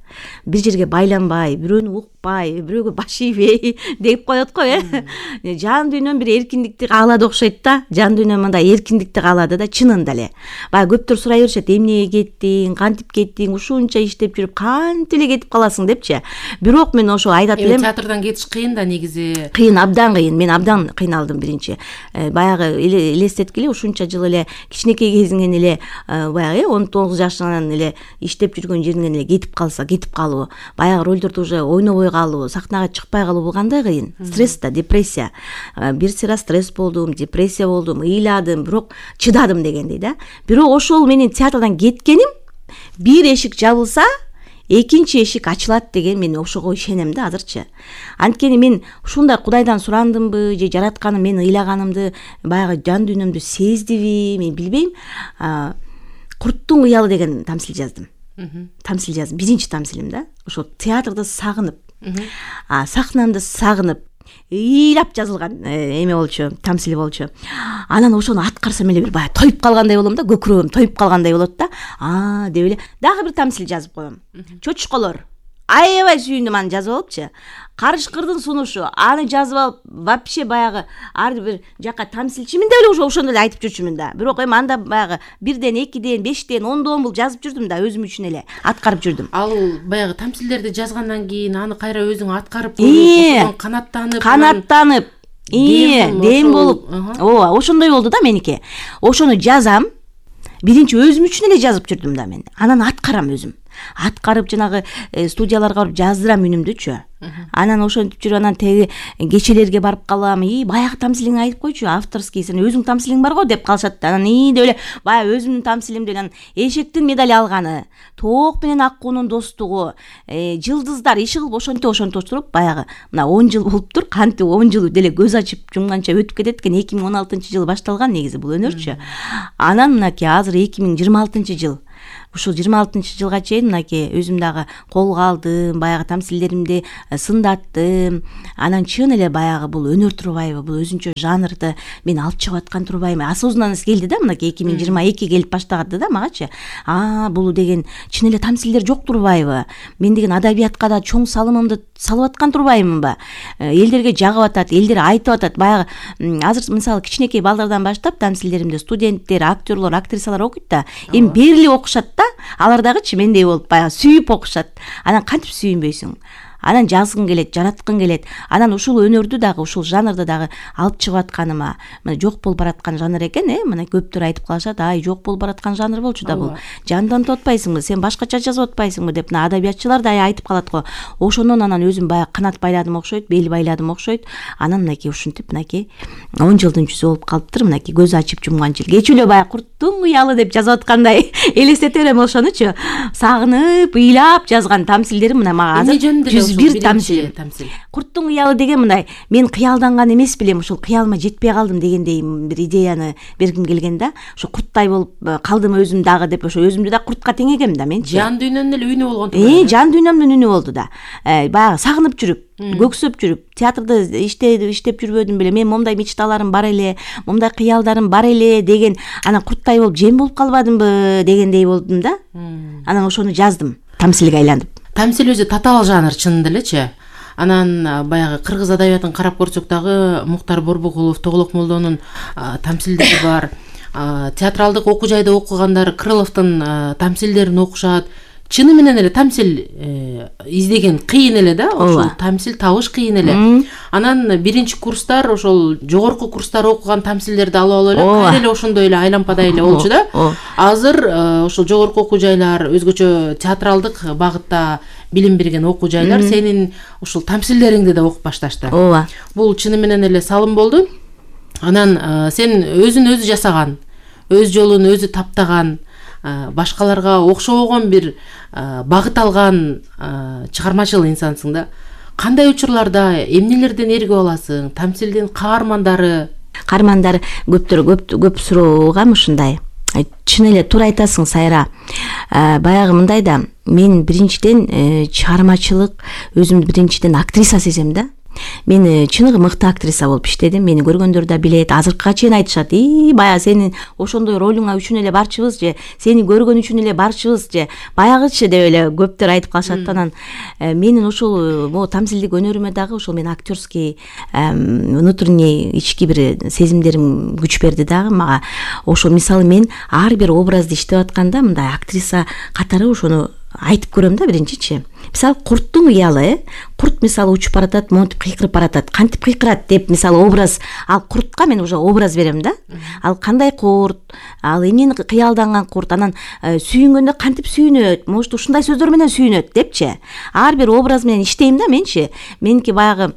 Бир жерге байланбай, бирөөнү укпай, бирөөгө баш ийбей деп коет го, жан дүйнөм бир эркиндикти каалады окшойт да. Жан дүйнөм мындай эркиндикти каалады да, чынында эле. Баягы көптөр сурай беришет, эмнеге кеттиң, кантип кеттиң, ушунча иштеп жүрүп кантип эле кетип каласың депчи. Бирок мен ошо айтат элем, театрдан кетиш кыйын да негизи. Кыйын, абдан кыйын. Мен абдан кыйналдым биринчи. Баягы элестеткиле ушунча жыл эле кичинекей кезиңен эле баягы 19 жашыңан эле иштеп жүргөн жериңен эле кетип калуу, баягы ролдорду уже ойнобой калуу, сахнага чыкпай калуу кандай кыйын. Стресс да, депрессия. Бир сыйра стресс болдум, депрессия болдум, ыйладым, бирок чыдадым дегендей да. Бирок ошол менин театрдан кеткеним, бир эшик жабылса, экинчи эшик ачылат деген мен ошого ишенем да азырчы. Анткени мен ушундай Кудайдан сурандымбы же жаратканы мен ыйлаганымды баягы жан дүйнөмдү сездиби мен билбейм. Курттун уялы деген тамсил жаздым. Биринчи тамсилим да. Ошо театрды сагынып, сахнамды сагынып, ыйлап жазылган эме болчу, тамсил болчу. Анан ошону аткарсам эле бир баягы тоюп калгандай болом да, көкүрөгүм тоюп калгандай болот да. Деп эле дагы бир тамсил жазып коем. Чочколор. Аябай сүйүндүм аны жазып алыпчы. Карышкырдын сунушу, аны жазып алып, вообще баягы ар бир жака тамсилчимин деп эле ошондо эле айтып жүрчүмүн да. Бирок эми анда баягы 1ден, 2ден, 5ден, 10дон бул жазып жүрдүм да, өзүм үчүн эле аткарып жүрдүм. Ал баягы тамсилдерди жазгандан кийин аны кайра өзүң аткарып көрүп, канаттанып, дем болуп, ооба, ошондой болду да меники. Ошону жазам. Биринчи өзүм үчүн эле жазып жүрдүм да мен. Анан аткарам өзүм. Аткарып жанагы студияларга барып жаздырам үнүмдүчү. Анан ошентип жүрүп анан теги кечелерге барып калам. Баягы тамсилиңди айтып койчу, авторский, сен өзүң тамсилиң бар го деп калышат да. Анан деп эле баягы өзүмдүн тамсилимди анан эшектин медали алганы, тоок менен аккуунун достугу, жылдыздар иши кылып ошентип туруп баягы мына 10 жыл болуптур. Кантип 10 жыл деле көз ачып жумганча өтүп кетет экен. 2016-жылы башталган негизи бул өнөрчү. Анан мынакей азыр 2026-жыл. Ушул 26-жылга чейин мынакей өзүм дагы колго алдым, баягы тамсилдеримди сындаттым. Анан чын эле баягы бул өнөр турбайбы, бул өзүнчө жанрды мен алып чыгып аткан турбайбы? Осознанность келди да, мынакей 2022 келип баштагады да магачы. Бул деген чын эле тамсилдер жок турбайбы? Мен деген адабиятка да чоң салымымды салып аткан турбаймынбы? Элдерге жагып атат, элдер айтып атат. Баягы азыр мисалы кичинекей балдардан баштап тамсилдеримди студенттер, актерлор, актрисалар окуйт да. Эми берили окушат да. Алар дагычы мендей болуп баягы сүйүп окушат. Анан кантип сүйүнбөйсүң? Анан жазгың келет, жараткың келет. Анан ушул өнөрдү дагы, ушул жанрды дагы алып чыгып атканыма, мына жок болуп бараткан жанр экен, мына көптөр айтып калышат, жок болуп бараткан жанр болчу да бул. Жандантып атпайсыңбы, сен башкача жазып атпайсыңбы деп мына адабиятчылар да айтып калат го. Ошондон анан өзүм баягы канат байладым окшойт, бел байладым окшойт. Анан мынакей ушинтип мынакей 10 жылдын жүзү болуп калыптыр, мынакей көз ачып жумганчы. Кечээ эле баягы Курттун уялы деп жазып аткандай элестете берем ошонучу. Сагынып, ыйлап жазган тамсилдерим мына мага азыр бир тамсил. Курттун уялы деген мындай, мен кыялданган эмес билем, ушул кыялыма жетпей калдым дегендей бир идеяны бергим келген да. Ошо курттай болуп калдым өзүм дагы деп, ошо өзүмдү да куртка теңегем да менчи. Жан дүйнөмдүн эле үнү болгон. Жан дүйнөмдүн үнү болду да. Баягы сагынып жүрүп, көксөп жүрүп, театрда иштеп жүрбөдүм беле. Мен момдай мечталарым бар эле, момдай кыялдарым бар эле деген, анан курттай болуп жем болуп калбадымбы дегендей болдум да. Анан ошону жаздым, тамсилге айланып. Тамсил өзү татаал жанр чынында элечи. Анан баягы кыргыз адабиятын карап көрсөк дагы Муктар Борбокулов, Тоглок Молдонун тамсилдери бар. Театралдык окуу жайда окугандар Крыловдун тамсилдерин окушат. Чыны менен эле тамсил издеген кыйын эле да, ошол тамсил табыш кыйын эле. Анан биринчи курстар, ошол жогорку курстар окуган тамсилдерди алып алып эле кайра эле ошондой эле айлампадай эле болчу да. Азыр ошол жогорку окуу жайлар, өзгөчө театралдык багытта билим берген окуу жайлар сенин ушул тамсилдериңди да окуп башташты. Ооба. Бул чыны менен эле салым болду. Анан сен өзүн өзү жасаган, өз жолун өзү таптаган, башкаларга окшобогон бир багыт алган чыгармачыл инсансың да. Кандай учурларда эмнелерден эргип аласың? Тамсилдин каармандары көп суроога ушундай. Чын эле туура айтасың, Сайра. Баягы мындай да, мен биринчиден чыгармачылык, өзүмдү биринчиден актриса сезем да. Мен чыныгы мыкты актриса болуп иштедим. Мени көргөндөр да билет. Азыркыга чейин айтышат: баягы сенин ошондой ролуңа үчүн эле барчыбыз же, сени көргөн үчүн эле барчыбыз же, баягычы деп эле көптөр айтып калышат. Анан менин ушул тамсилдик өнөрүмө дагы ошол мен актерский внутренний ички бир сезимдерим күч берди дагы мага. Ошо мисалы мен ар бир образды иштеп атканда мындай актриса катары ошону айтып көрөм да биринчичи. Мисалы курттун уялы, курт мисалы учуп баратат, монтип кыйкырып баратат. Кантип кыйкырат деп мисалы образ, ал куртка мен уже образ берем да. Ал кандай курт, ал эмнени кыялданган курт, анан сүйүнгөндө кантип сүйүнөт, может ушундай сөздөр менен сүйүнөт депчи. Ар бир образ менен иштейм да менчи. Меники баягы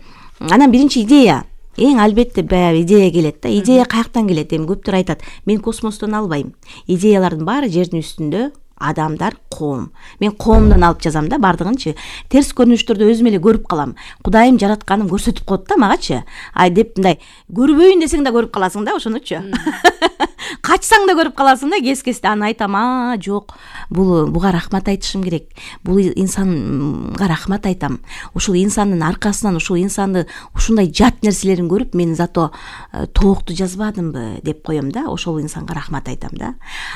анан биринчи идея. Албетте баягы идея келет да. Идея каяктан келет? Эми көптөр айтат: мен космостон албайм. Идеялардын баары жердин үстүндө адамдар, коом. Мен коомдон алып жазам да бардыгынчы. Терс көрүнүштөрдү өзүм эле көрүп калам. Кудайым жаратканын көрсөтүп коет да магачы. Ай деп мындай көрбөйүн десең да көрүп каласың да ошонучу. Качсаң да көрүп каласың да, кес-кесте аны айтам, жок, буга рахмат айтышым керек. Бул инсанга рахмат айтам. Ушул инсандын аркасынан, ушул инсанды ушундай жат нерселерин көрүп, мен зато тоокту жазбадымбы деп коем да, ошол инсанга рахмат айтам да.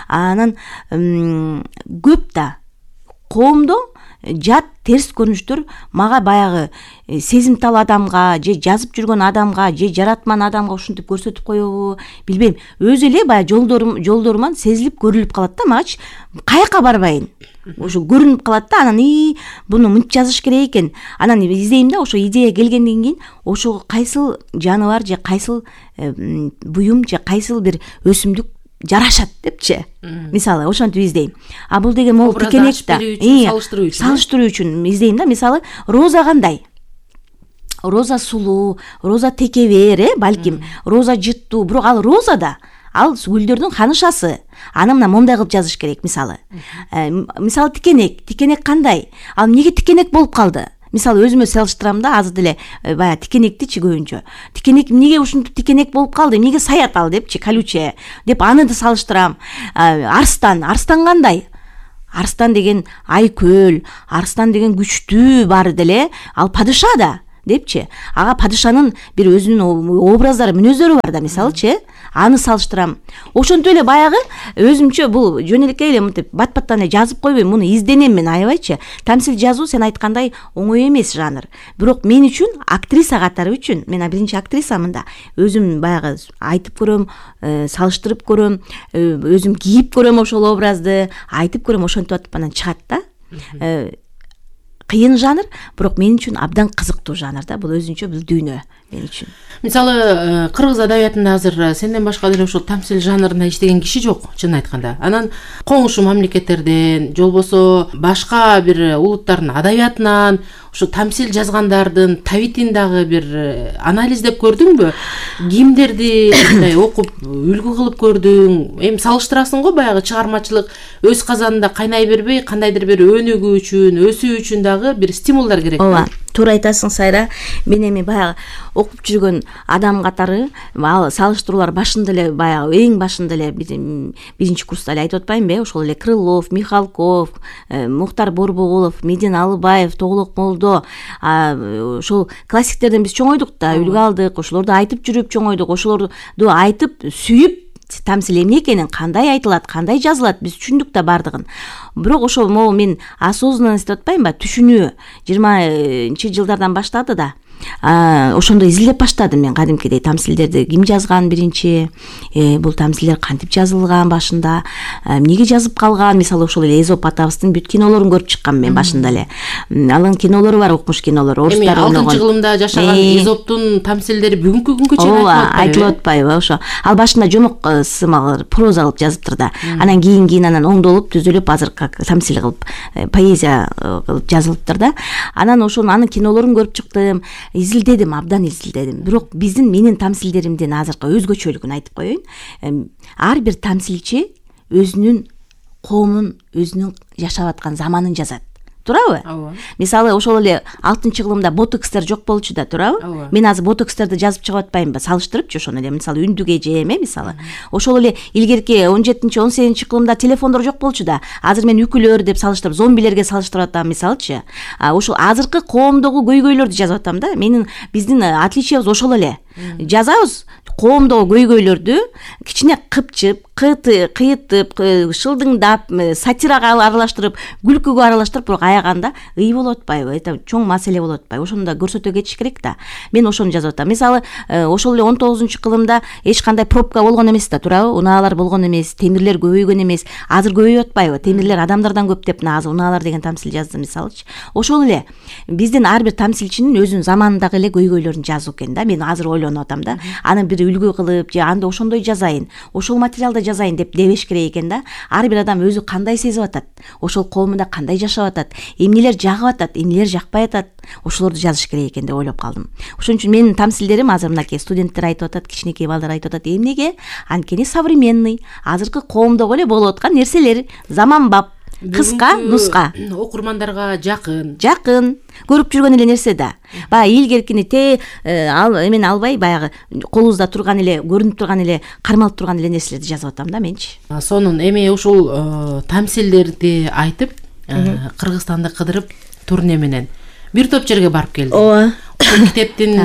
Анан көп да коомдо жат терс көрүнүштөр мага баягы сезимтал адамга же жазып жүргөн адамга же жаратман адамга ушинтип көрсөтүп коебу билбейм, өзү эле баягы жолдоруман сезилип көрүлүп калат да магачы. Каяка барбайын ошо көрүнүп калат да, анан буну мынтип жазыш керек экен. Анан издейм да, ошо идея келгенден кийин ошого кайсыл жаныбар же кайсыл буюм же кайсыл бир өсүмдүк жарашат депчи. Мисалы ошентип издейм. А бул деген могул тикенек да. Салыштыруу үчүн издейм да. Мисалы роза кандай? Роза сулуу, роза текебер, балким, роза жыттуу, бирок ал роза да. Ал гүлдөрдүн ханышасы. Аны мына момундай кылып жазыш керек, мисалы. Мисалы тикенек кандай? Ал эмнеге тикенек болуп калды? Мисалы өзүмө салыштырам да, азыр деле баягы тикенектичи көбүнчө. Тикенек эмнеге ушинтип тикенек болуп калды? Эмнеге саят ал депчи, колючее деп аны да салыштырам. Арстан кандай? Арстан деген айкөл, арстан деген күчтүү баары деле, ал падыша да депчи. Ага падышанын бир өзүнүн образдары, мүнөздөрү бар да, мисалычы, аны салыштырам. Ошентип эле баягы өзүмчө бул жөнөлекей эле мынтип бат-баттан эле жазып койбойм, муну изденем мен, аябайчы. Тамсил жазуу сен айткандай оңой эмес жанр. Бирок мен үчүн, актриса катары үчүн, мен биринчи актрисамын да. Өзүм баягы айтып көрөм, салыштырып көрөм, өзүм кийип көрөм ошол образды, айтып көрөм, ошентип атып анан чыгат да. Кыйын жанр, бирок мен үчүн абдан кызыктуу жанр да. Бул өзүнчө бул дүйнө мен үчүн. Мисалы, кыргыз адабиятында азыр сенден башка деле ошол тамсил жанрында иштеген киши жок, чын айтканда. Анан коңшу мамлекеттерден, же болбосо башка бир улуттардын адабиятынан ошо тамсил жазгандардын табитин дагы бир анализдеп көрдүңбү? Кимдерди мындай окуп, үлгү кылып көрдүң? Эми салыштырасың го, баягы чыгармачылык өз казанында кайнай бербей, кандайдыр бир өнүгүү үчүн, өсүү үчүн дагы бир стимулдар керек. Ооба, туура айтасың Сайра. Мен эми баягы окуп жүргөн адам катары салыштыруулар башында эле баягы эң башында эле биринчи курста эле айтып атпаймынбы? Ошол эле Крылов, Михалков, Мухтар Борбоголов, Медин Алыбаев, Тоглок Молдо, ошол классиктерден биз чоңойдук да, үлгү алдык, ошолорду айтып жүрүп чоңойдук, ошолорду айтып сүйүп тамсил эмне экенин, кандай айтылат, кандай жазылат, биз түшүндүк да бардыгын. Бирок ошол могу мен осознанность деп атпаймынбы, түшүнүү 20-жылдардан баштады да. Ошондо изилдеп баштадым мен кадимкидей тамсилдерди, ким жазган биринчи, бул тамсилдер кантип жазылган башында, эмнеге жазып калган. Мисалы ошол эле Эзоп атабыздын бүт кинолорун көрүп чыккам мен башында эле. Анын кинолору бар, окумуш кинолору, орустар ойногон. 6-кылымда жашаган Эзоптун тамсилдери бүгүнкү күнгө чейин айтылып атпайбы? Ошо. Ал башында жомок сымал проза кылып жазыптыр да. Анан кийин анан оңдолуп, түзүлүп, азыр как тамсил кылып, поэзия кылып жазылыптыр да. Анан ошонун анын кинолорун көрүп чыктым. Изилдедим, абдан изилдедим. Бирок менин тамсилдеримдин азыркы өзгөчөлүгүн айтып коеюн. Ар бир тамсилчи өзүнүн коомун, өзүнүн жашап аткан заманын жазат. Туурабы? Мисалы, ошол эле 6-кылымда ботокстер жок болчу да, туурабы? Мен азыр ботокстерди жазып чыгып атпаймынбы? Салыштырыпчы ошону эле, мисалы, үндүк эже мисалы. Ошол эле илгерки 17-18-кылымда телефондор жок болчу да. Азыр мен үкүлөр деп салыштырып, зомбилерге салыштырып атам, мисалычы. Ошол азыркы коомдогу көйгөйлөрдү жазып атам да. Биздин отличиябыз ошол эле. Жазабыз коомдогу көйгөйлөрдү кичине кыпчып, кыйытып, шылдыңдап, сатирага аралаштырып, күлкүгө аралаштырып, бирок аяганда ый болуп атпайбы? Это чоң маселе болуп атпайбы? Ошону да көрсөтө кетиш керек да. Мен ошону жазып атам. Мисалы, ошол эле 19-кылымда эч кандай пробка болгон эмес да, туурабы? Унаалар болгон эмес, темирлер көбөйгөн эмес. Азыр көбөйүп атпайбы? Темирлер адамдардан көп деп азыр унаалар деген тамсил жаздым, мисалычы. Ошол эле биздин ар бир тамсилчинин өзүнүн заманындагы эле көйгөйлөрүн жазуу экен да. Мен азыр ойлонуп атам да. Аны бир үлгү кылып, же анда ошондой жазайын, ошол материалда жазайын деп дебеш керек экен да. Ар бир адам өзү кандай сезип атат, ошол коомунда кандай жашап атат, эмнелер жагып атат, эмнелер жакпай атат, ошолорду жазыш керек экен деп ойлоп калдым. Ошон үчүн менин тамсилдерим азыр мынакей студенттер айтып атат, кичинекей балдар айтып атат. Эмнеге? Анткени современный, азыркы коомдогу эле болуп аткан нерселер, заманбап. кыска нуска, окурмандарга жакын көрүп жүргөн эле нерсе да. Баягы илгеркини эмен албай, баягы колубузда турган эле, көрүнүп турган эле, кармалып турган эле нерселерди жазып атам да менчи. Сонун эми ушул тамсилдерди айтып, Кыргызстанды кыдырып турне менен бир топ жерге барып келди. Ооба. Китептин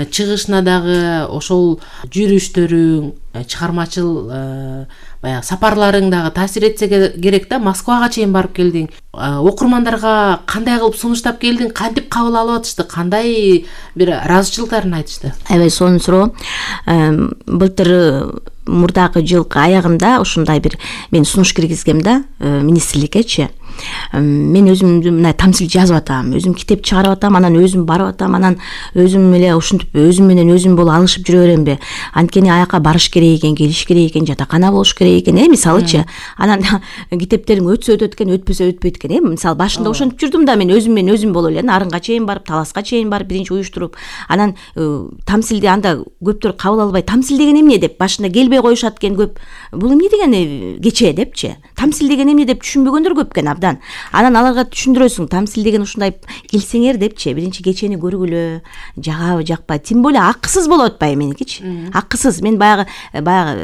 чыгышына дагы ошол жүрүштөрүң, чыгармачыл баягы сапарларың дагы таасир этсе керек да. Москвага чейин барып келдиң. Окурмандарга кандай кылып сунуштап келдиң? Кантип кабыл алып атышты? Кандай бир ыраазычылыктарын айтышты? Аябай сонун суроо. Былтыр мурдагы жылкы аягында ушундай бир мен сунуш киргизгем да министрликкечи. Мен өзүм мына тамсил жазып атам, өзүм китеп чыгарып атам, анан өзүм барып атам, анан өзүм эле ушинтип өзүм менен өзүм болуп алышып жүрө беремби? Анткени аяка барыш керек экен, келиш керек экен, жатакана болуш керек экен, мисалычы. Анан китептериң өтсө өтөт экен, өтпөсө өтпөйт экен, Мисалы башында ошентип жүрдүм да, мен өзүм болуп эле Нарынга чейин барып, Таласка чейин барып, биринчи уюштуруп, анан тамсилди анда көптөр кабыл албай, тамсил деген эмне деп башында келбей коюшат экен көп. Бул эмне деген кече депчи? Тамсил деген эмне деп түшүнбөгөндөр көп экен абдан. Анан аларга түшүндүрөсүң, тамсил деген ушундай келсеңер депчи, биринчи кечени көргүлө, жагабы, жакпайбы, тем более акысыз болуп атпайбы меникичи. Акысыз. Мен баягы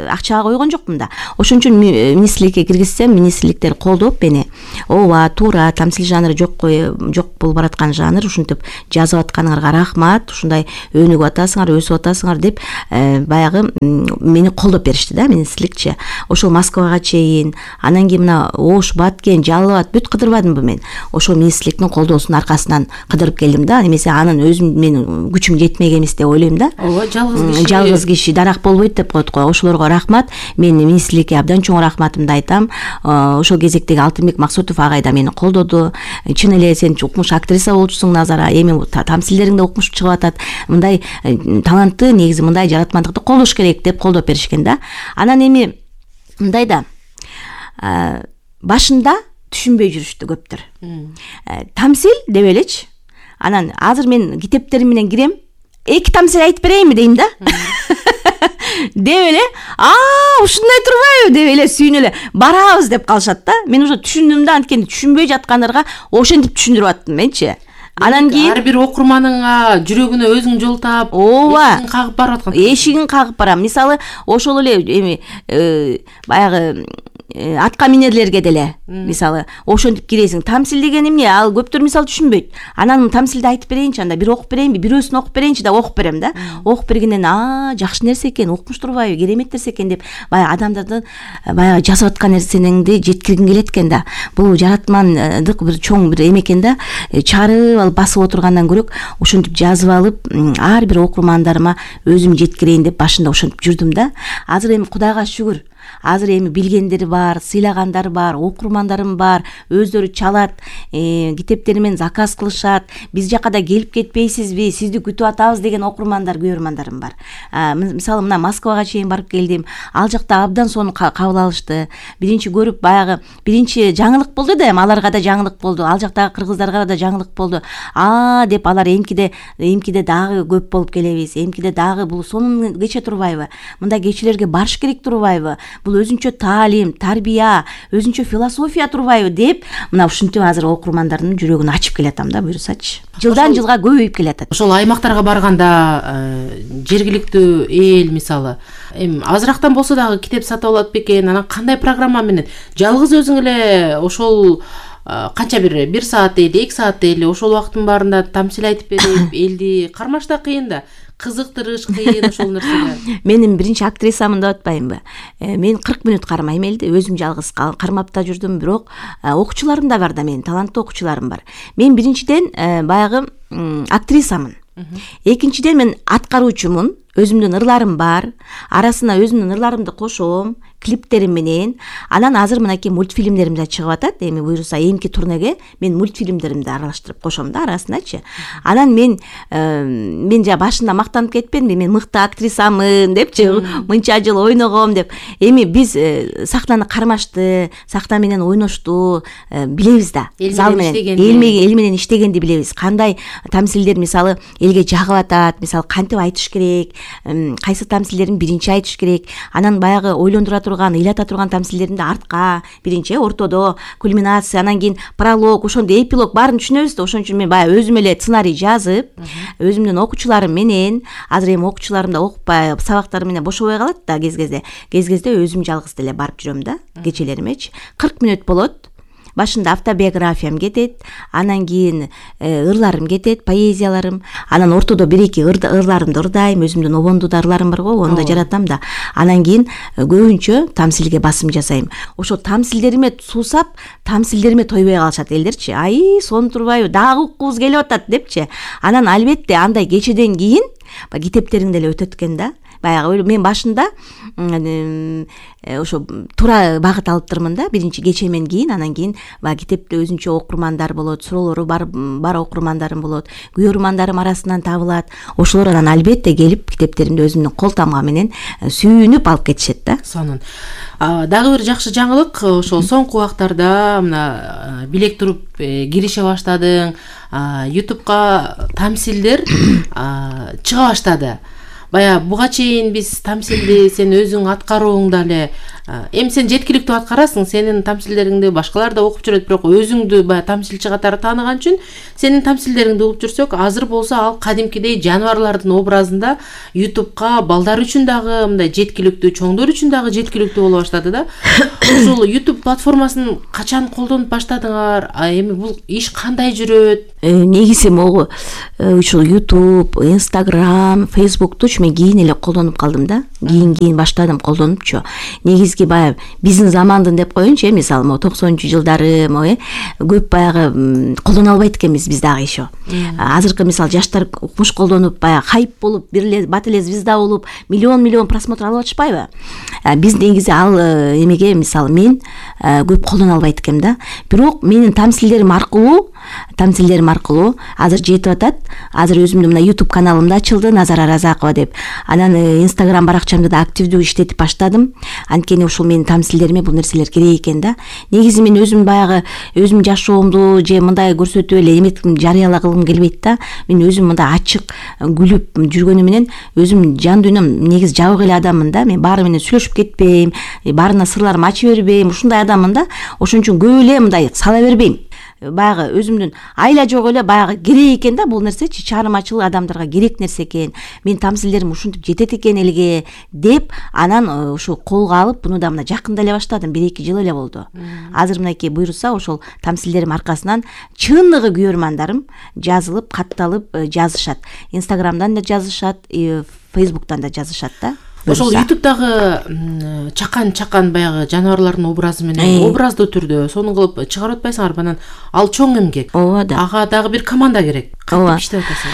акчага койгон жокмун да. Ошон үчүн министрликке киргизсем, министрликтер колдоп мени, ооба, туура, тамсил жанры жок болуп бараткан жанр, ушинтип жазып атканыңарга рахмат, ушундай өнүгүп атасыңар, өсүп атасыңар деп баягы мени колдоп беришти да, министрликчи. Ошол Москвага чейин, анан кийин мына Ош, Баткен, Жалал Абад бүт кыдырбадымбы мен. Ошол министрликтин колдоосунун аркасынан кыдырып келдим да. Эмесе анын өзүм менин күчүм жетмек эмес деп ойлойм да. Ооба, жалгыз киши дарак болбойт деп коет го. Ошолорго рахмат. Мен министрликке абдан чоң рахматымды айтам. Ошол кезектеги Алтынбек Максутов агай да мени колдоду. Чын эле сен укмуш актриса болчусуң, Назара. Эми тамсилдериңде укмуш чыгып атат. Мындай талантты, негизи мындай жаратмандыкты колдош керек деп колдоп беришкен да. Анан эми мындай да. Башында түшүнбөй жүрүштү көптөр. Тамсил деп элечи. Анан азыр мен китептерим менен кирем. Эки тамсил айтып берейинби дейм да. Деп эле, ушундай турбайбы деп эле сүйүнүп эле барабыз деп калышат да. Мен уже түшүндүм да, анткени түшүнбөй жаткандарга ошентип түшүндүрүп аттым менчи. Анан кийин ар бир окурманыңа жүрөгүнө өзүң жол таап, эшигин кагып барып аткан. Эшигин кагып барам. Мисалы, ошол эле эми баягы атка минерлерге деле мисалы ошентип киресиң. Тамсил деген эмне? Ал көптөр мисалы түшүнбөйт. Анан тамсилди айтып берейинчи, анда бир окуп берейинби, бирөөсүн окуп берейинчи да, окуп берем да. Окуп бергенден жакшы нерсе экен, укмуш турбайбы, керемет нерсе экен деп баягы адамдардын баягы жазып аткан нерсеңди жеткиргиң келет экен да. Бул жаратмандык бир чоң бир эме экен да. Чарып алып басып отургандан көрөк ошентип жазып алып ар бир окурмандарыма өзүм жеткирейин деп башында ошентип жүрдүм да. Азыр эми Кудайга шүгүр. Азыр эми билгендери бар, сыйлагандар бар, окурмандарым бар, өздөрү чалат, китептери менен заказ кылышат. Биз жака да келип кетпейсизби? Сизди күтүп атабыз деген окурмандар, көрөрмандарым бар. Мисалы мына Москвага чейин барып келдим. Ал жакта абдан сонун кабыл алышты. Биринчи көрүп баягы биринчи жаңылык болду да, эми аларга да жаңылык болду. Ал жактагы кыргыздарга да жаңылык болду. Деп алар эмкиде дагы көп болуп келебиз. Эмкиде дагы бул сонун кече турбайбы? Мындай кечелерге барыш керек турбайбы? Бул өзүнчө таалим, тарбия, өзүнчө философия турбайбы деп, мына ушинтип азыр окурмандардын жүрөгүн ачып келатам да, буюрсачы. Жылдан жылга көбөйүп келатат. Ошол аймактарга барганда жергиликтүү эл мисалы эми азырактан болсо дагы китеп сатып алат бекен, анан кандай программа менен жалгыз өзүң эле ошол канча бир саат дейли, 2 саат дейли ошол убакыттын баарында тамсил айтып берип, элди кармаш да кыйын да. Кызыктырыш кыйын ошол нерсеге. Менин биринчи актрисамын деп атпаймынбы? Мен 40 мүнөт кармайм элди, өзүм жалгыз кармап да жүрдүм, бирок окуучуларым да бар да, менин таланттуу окуучуларым бар. Мен биринчиден баягы актрисамын. Экинчиден мен аткаруучумун, өзүмдүн ырларым бар, арасына өзүмдүн ырларымды кошом, клиптерим менен. Анан азыр мынакей мультфильмдерим да чыгып атат. Эми буюрса эмки турнеге мен мультфильмдеримди аралаштырып кошом да арасыначы. Анан мен жа башында мактанып кетпедимби, мен мыкты актрисамын депчи, мынча жыл ойногом деп. Эми биз сахнаны кармашты, сахна менен ойношту, билебиз да. Зал менен, эл менен иштегенди билебиз. Кандай тамсилдер мисалы элге жагып атат, мисалы кантип айтыш керек, кайсы тамсилдерин биринчи айтыш керек, анан баягы ойлондура турган, ыйлата турган тамсилдеринди артка, биринчи ортодо, кульминация, анан кийин пролог, ошондо эпилог баарын түшүнөбүз да. Ошон үчүн мен баягы өзүм эле сценарий жазып, өзүмдүн окуучуларым менен, азыр эми окуучуларым да окупай сабактары менен бошобой калат да кез-кезде өзүм жалгыз деле барып жүрөм да, кечелеримечи. 40 мүнөт болот. Башында автобиографиям кетет, анан кийин ырларым кетет, поэзияларым, анан ортодо 1-2 ырларымды ырдайм, өзүмдүн обондуу ырларым бар го, onu да жаратам да. Анан кийин көбүнчө тамсилге басым жасайм. Ошо тамсилдериме суусап, тамсилдериме тойбой калышат элдерчи. Ай, сонун турбайбы, дагы уккубуз келип атат депчи. Анан албетте андай кечеден кийин китептериң деле өтөт экен да. Баягы мен башында ошо туура багыт алыптырмын да, биринчи кечемен кийин, анан кийин баягы китепте өзүнчө окурмандар болот, суроолору бар окурмандарым болот, күйөрмандарым арасынан табылат. Ошолор анан албетте келип китептеримди өзүмдүн кол тамга менен сүйүнүп алып кетишет да. Сонун. Дагы бир жакшы жаңылык, ошол соңку убактарда мына билек туруп кирише баштадың, YouTube'га тамсилдер чыга баштады. Бая буга чейин биз тамсилди сен өзүң аткарууңда эле эми сен жеткиликтүү аткарасың, сенин тамсилдериңди башкалар да окуп жүрөт, бирок өзүңдү баягы тамсилчи катары тааныган үчүн сенин тамсилдериңди угуп жүрсөк, азыр болсо ал кадимкидей жаныбарлардын образында YouTube'га балдар үчүн дагы мындай жеткиликтүү, чоңдор үчүн дагы жеткиликтүү боло баштады да. Ушул YouTube платформасын качан колдонуп баштадыңар? Эми бул иш кандай жүрөт? Негизи могу ушул YouTube, Instagram, Facebook'ту мен кийин эле колдонуп калдым да. Кийин баштадым колдонупчу. Негизги баягы биздин замандын деп коеюнчу, мисалы 90-жылдары көп баягы колдоно албайт экенбиз биз дагы еще. Азыркы мисалы жаштар укмуш колдонуп, баягы хайп болуп, бир эле бат эле звезда болуп, миллион просмотр алып атышпайбы? Биз негизи ал эмеге мисалы мен көп колдоно албайт экенм да. Бирок менин тамсилдерим аркылуу азыр жетип атат. Азыр өзүмдүн мына YouTube каналымды ачылды, Назара Разакова деп. Анан Instagram баракчамды да активдүү иштетип баштадым. Анткени ушул менин тамсилдериме бул нерселер керек экен да. Негизи мен өзүм баягы өзүм жашоомду же мындай көрсөтүп эле эметким жарыялагым келбейт да. Мен өзүм мындай ачык күлүп жүргөнүм менен өзүм жан дүйнөм негизи жабык эле адаммын да. Мен баары менен сүйлөшүп кетпейм, баарына сырларымды ача бербейм, ушундай адаммын да. Ошон үчүн көп эле мындай сала бербейм. Баягы өзүмдүн айла жок эле баягы керек экен да бул нерсечи, чаармачыл адамдарга керек нерсе экен. Мен тамсилдерим ушинтип жетет экен элге деп, анан ушу колго алып, буну да мына жакында эле баштадым, 1-2 жыл эле болду. Азыр мынакей буйруса ошол тамсилдерим аркасынан чыныгы күйөрмандарым жазылып, катталып жазышат. Инстаграмдан да жазышат, Фейсбуктан да жазышат да. Ошол YouTube'дагы чакан баягы жаныбарлардын образы менен образдуу түрдө сонун кылып чыгарып атпайсыңар, анан ал чоң эмгек. Ооба да. Ага дагы бир команда керек. Кантип иштеп атасың?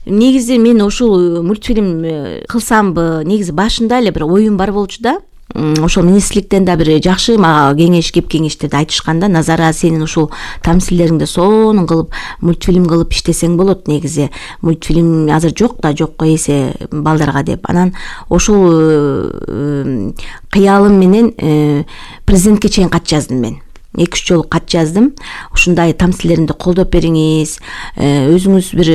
Негизи мен ушул мультфильм кылсамбы, негизи башында эле бир оюм бар болчу да. Ошол министрликтен да бир жакшы мага кеңештерди айтышканда, Назара, сенин ушул тамсилдериңди сонун кылып мультфильм кылып иштесең болот. Негизи мультфильм азыр жок эсе балдарга деп. Анан ошол кыялым менен президентке чейин кат жаздым мен. 2-3 жолу кат жаздым. Ушундай тамсилдеримди колдоп бериңиз, өзүңүз бир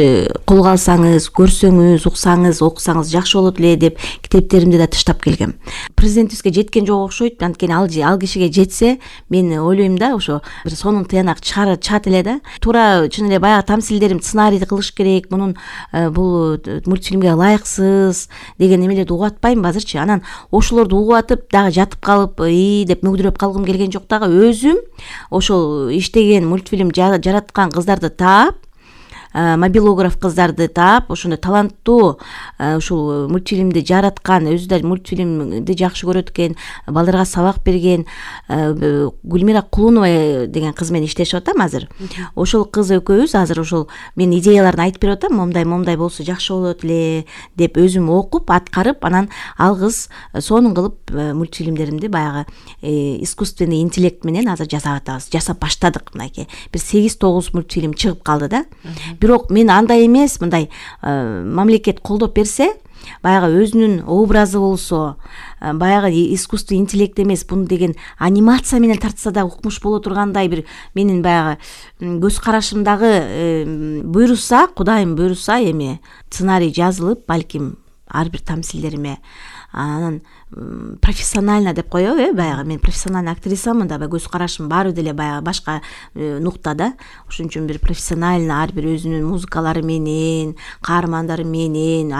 колго алсаңыз, көрсөңүз, уксаңыз, окусаңыз жакшы болот эле деп китептеримди да тыштап келгем. Президентибизге жеткен жок окшойт. Анткени ал кишиге жетсе, мен ойлойм да, ошо бир сонун тыянак чыгат эле да. Туура чын эле баягы тамсилдерим сценарийди кылыш керек, мунун бул мультфильмге ылайыксыз деген эмелерди угуп атпайм азырчы. Анан ошолорду угуп атып дагы жатып калып, деп мөгдүрөп калгым келген жок дагы. Өзүм ошол иштеген мультфильм жараткан кыздарды таап, мобилограф кыздарды таап, ошондой таланттуу ушул мультфильмди жараткан, өзү да мультфильмди жакшы көрөт экен, балдарга сабак берген Гүлмира Кулунова деген кыз менен иштешип атам азыр. Ошол кыз экөөбүз азыр ошол мен идеяларын айтып берип атам, момдай болсо жакшы болот эле деп өзүм окуп, аткарып, анан ал кыз сонун кылып мультфильмдеримди баягы искусственный интеллект менен азыр жасап атабыз. Жасап баштадык мынакей. Бир 8-9 мультфильм чыгып калды да. Бирок мен андай эмес, мындай мамлекет колдоп берсе, баягы өзүнүн образы болсо, баягы искусственный интеллект эмес, буну деген анимация менен тартса да укмуш боло тургандай бир менин баягы көз карашымдагы буйруса, Кудайым буйруса, эми сценарий жазылып, балким ар бир тамсилдериме. Анан профессионально деп коебу, баягы мен профессиональный актрисамын да, көз карашым баары деле баягы башка нуктада. Ошон үчүн бир профессионально ар бир өзүнүн музыкалары менен, каармандары менен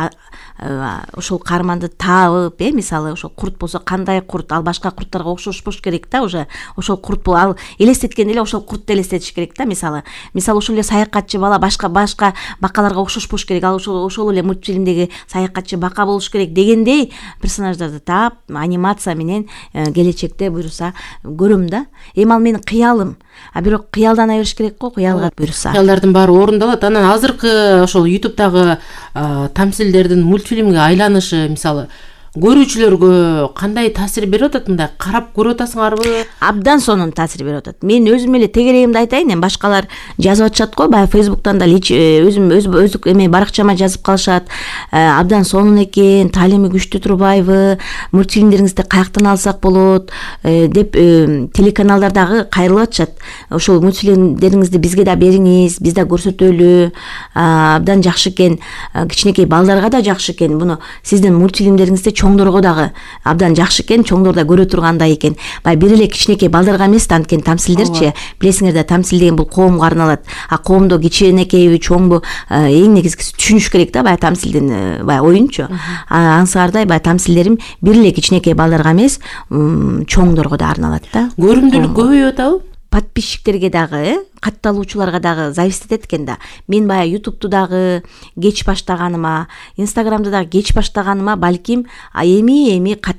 ошол каарманды таап, мисалы ошол курт болсо кандай курт, ал башка курттарга окшошпош керек да, уже ошол курт ал элестеткенде эле ошол куртту элестетиш керек да, мисалы ошол эле саякатчы бала башка бакаларга окшошпош керек, ал ошол эле мультфильмдеги саякатчы бака болуш керек дегендей персонаждарды таап анимация менен келечекте буюрса көрөм да. Эми ал менин кыялым, а бирок кыялдана бериш керек го, кыялга буюрса. Кыялдардын баары орундалат. Анан азыркы ошол YouTube'дагы тамсилдердин мультфильмге айланышы мисалы көрүүчүлөргө кандай таасир берип атат? Мындай карап көрүп атасыңарбы? Абдан сонун таасир берип атат. Мен өзүм эле тегерегимди айтайын, эми башкалар жазып атышат го, баягы Facebook'тан да өзүм эме баракчама жазып калышат. Абдан сонун экен, таалими күчтүү турбайбы? Мультфильмдериңизди каяктан алсак болот деп телеканалдардагы кайрылып атышат. Ошол мультфильмдериңизди бизге да бериңиз, биз да көрсөтөлү. Абдан жакшы экен, кичинекей балдарга да жакшы экен. Буну сиздин мультфильмдериңизди чоңдорго дагы абдан жакшы экен, чоңдор да көрө тургандай экен. Баягы бир эле кичинекей балдарга эмес да, анткени тамсилдерчи, билесиңер да, тамсил деген бул коомго арналат. Коомдо кичинекейби, чоңбу, эң негизгиси түшүнүш керек да, баягы тамсилдин баягы оюнчу. Аңсыңардай баягы тамсилдерим бир эле кичинекей балдарга эмес, чоңдорго да арналат да. Көрүмдүүлүк көбөйүп атабы? Подписчиктерге дагы, катталуучуларга дагы зависит этет экен да. Мен баягы YouTube'ду дагы кеч баштаганыма, Instagram'ды дагы кеч баштаганыма балким эми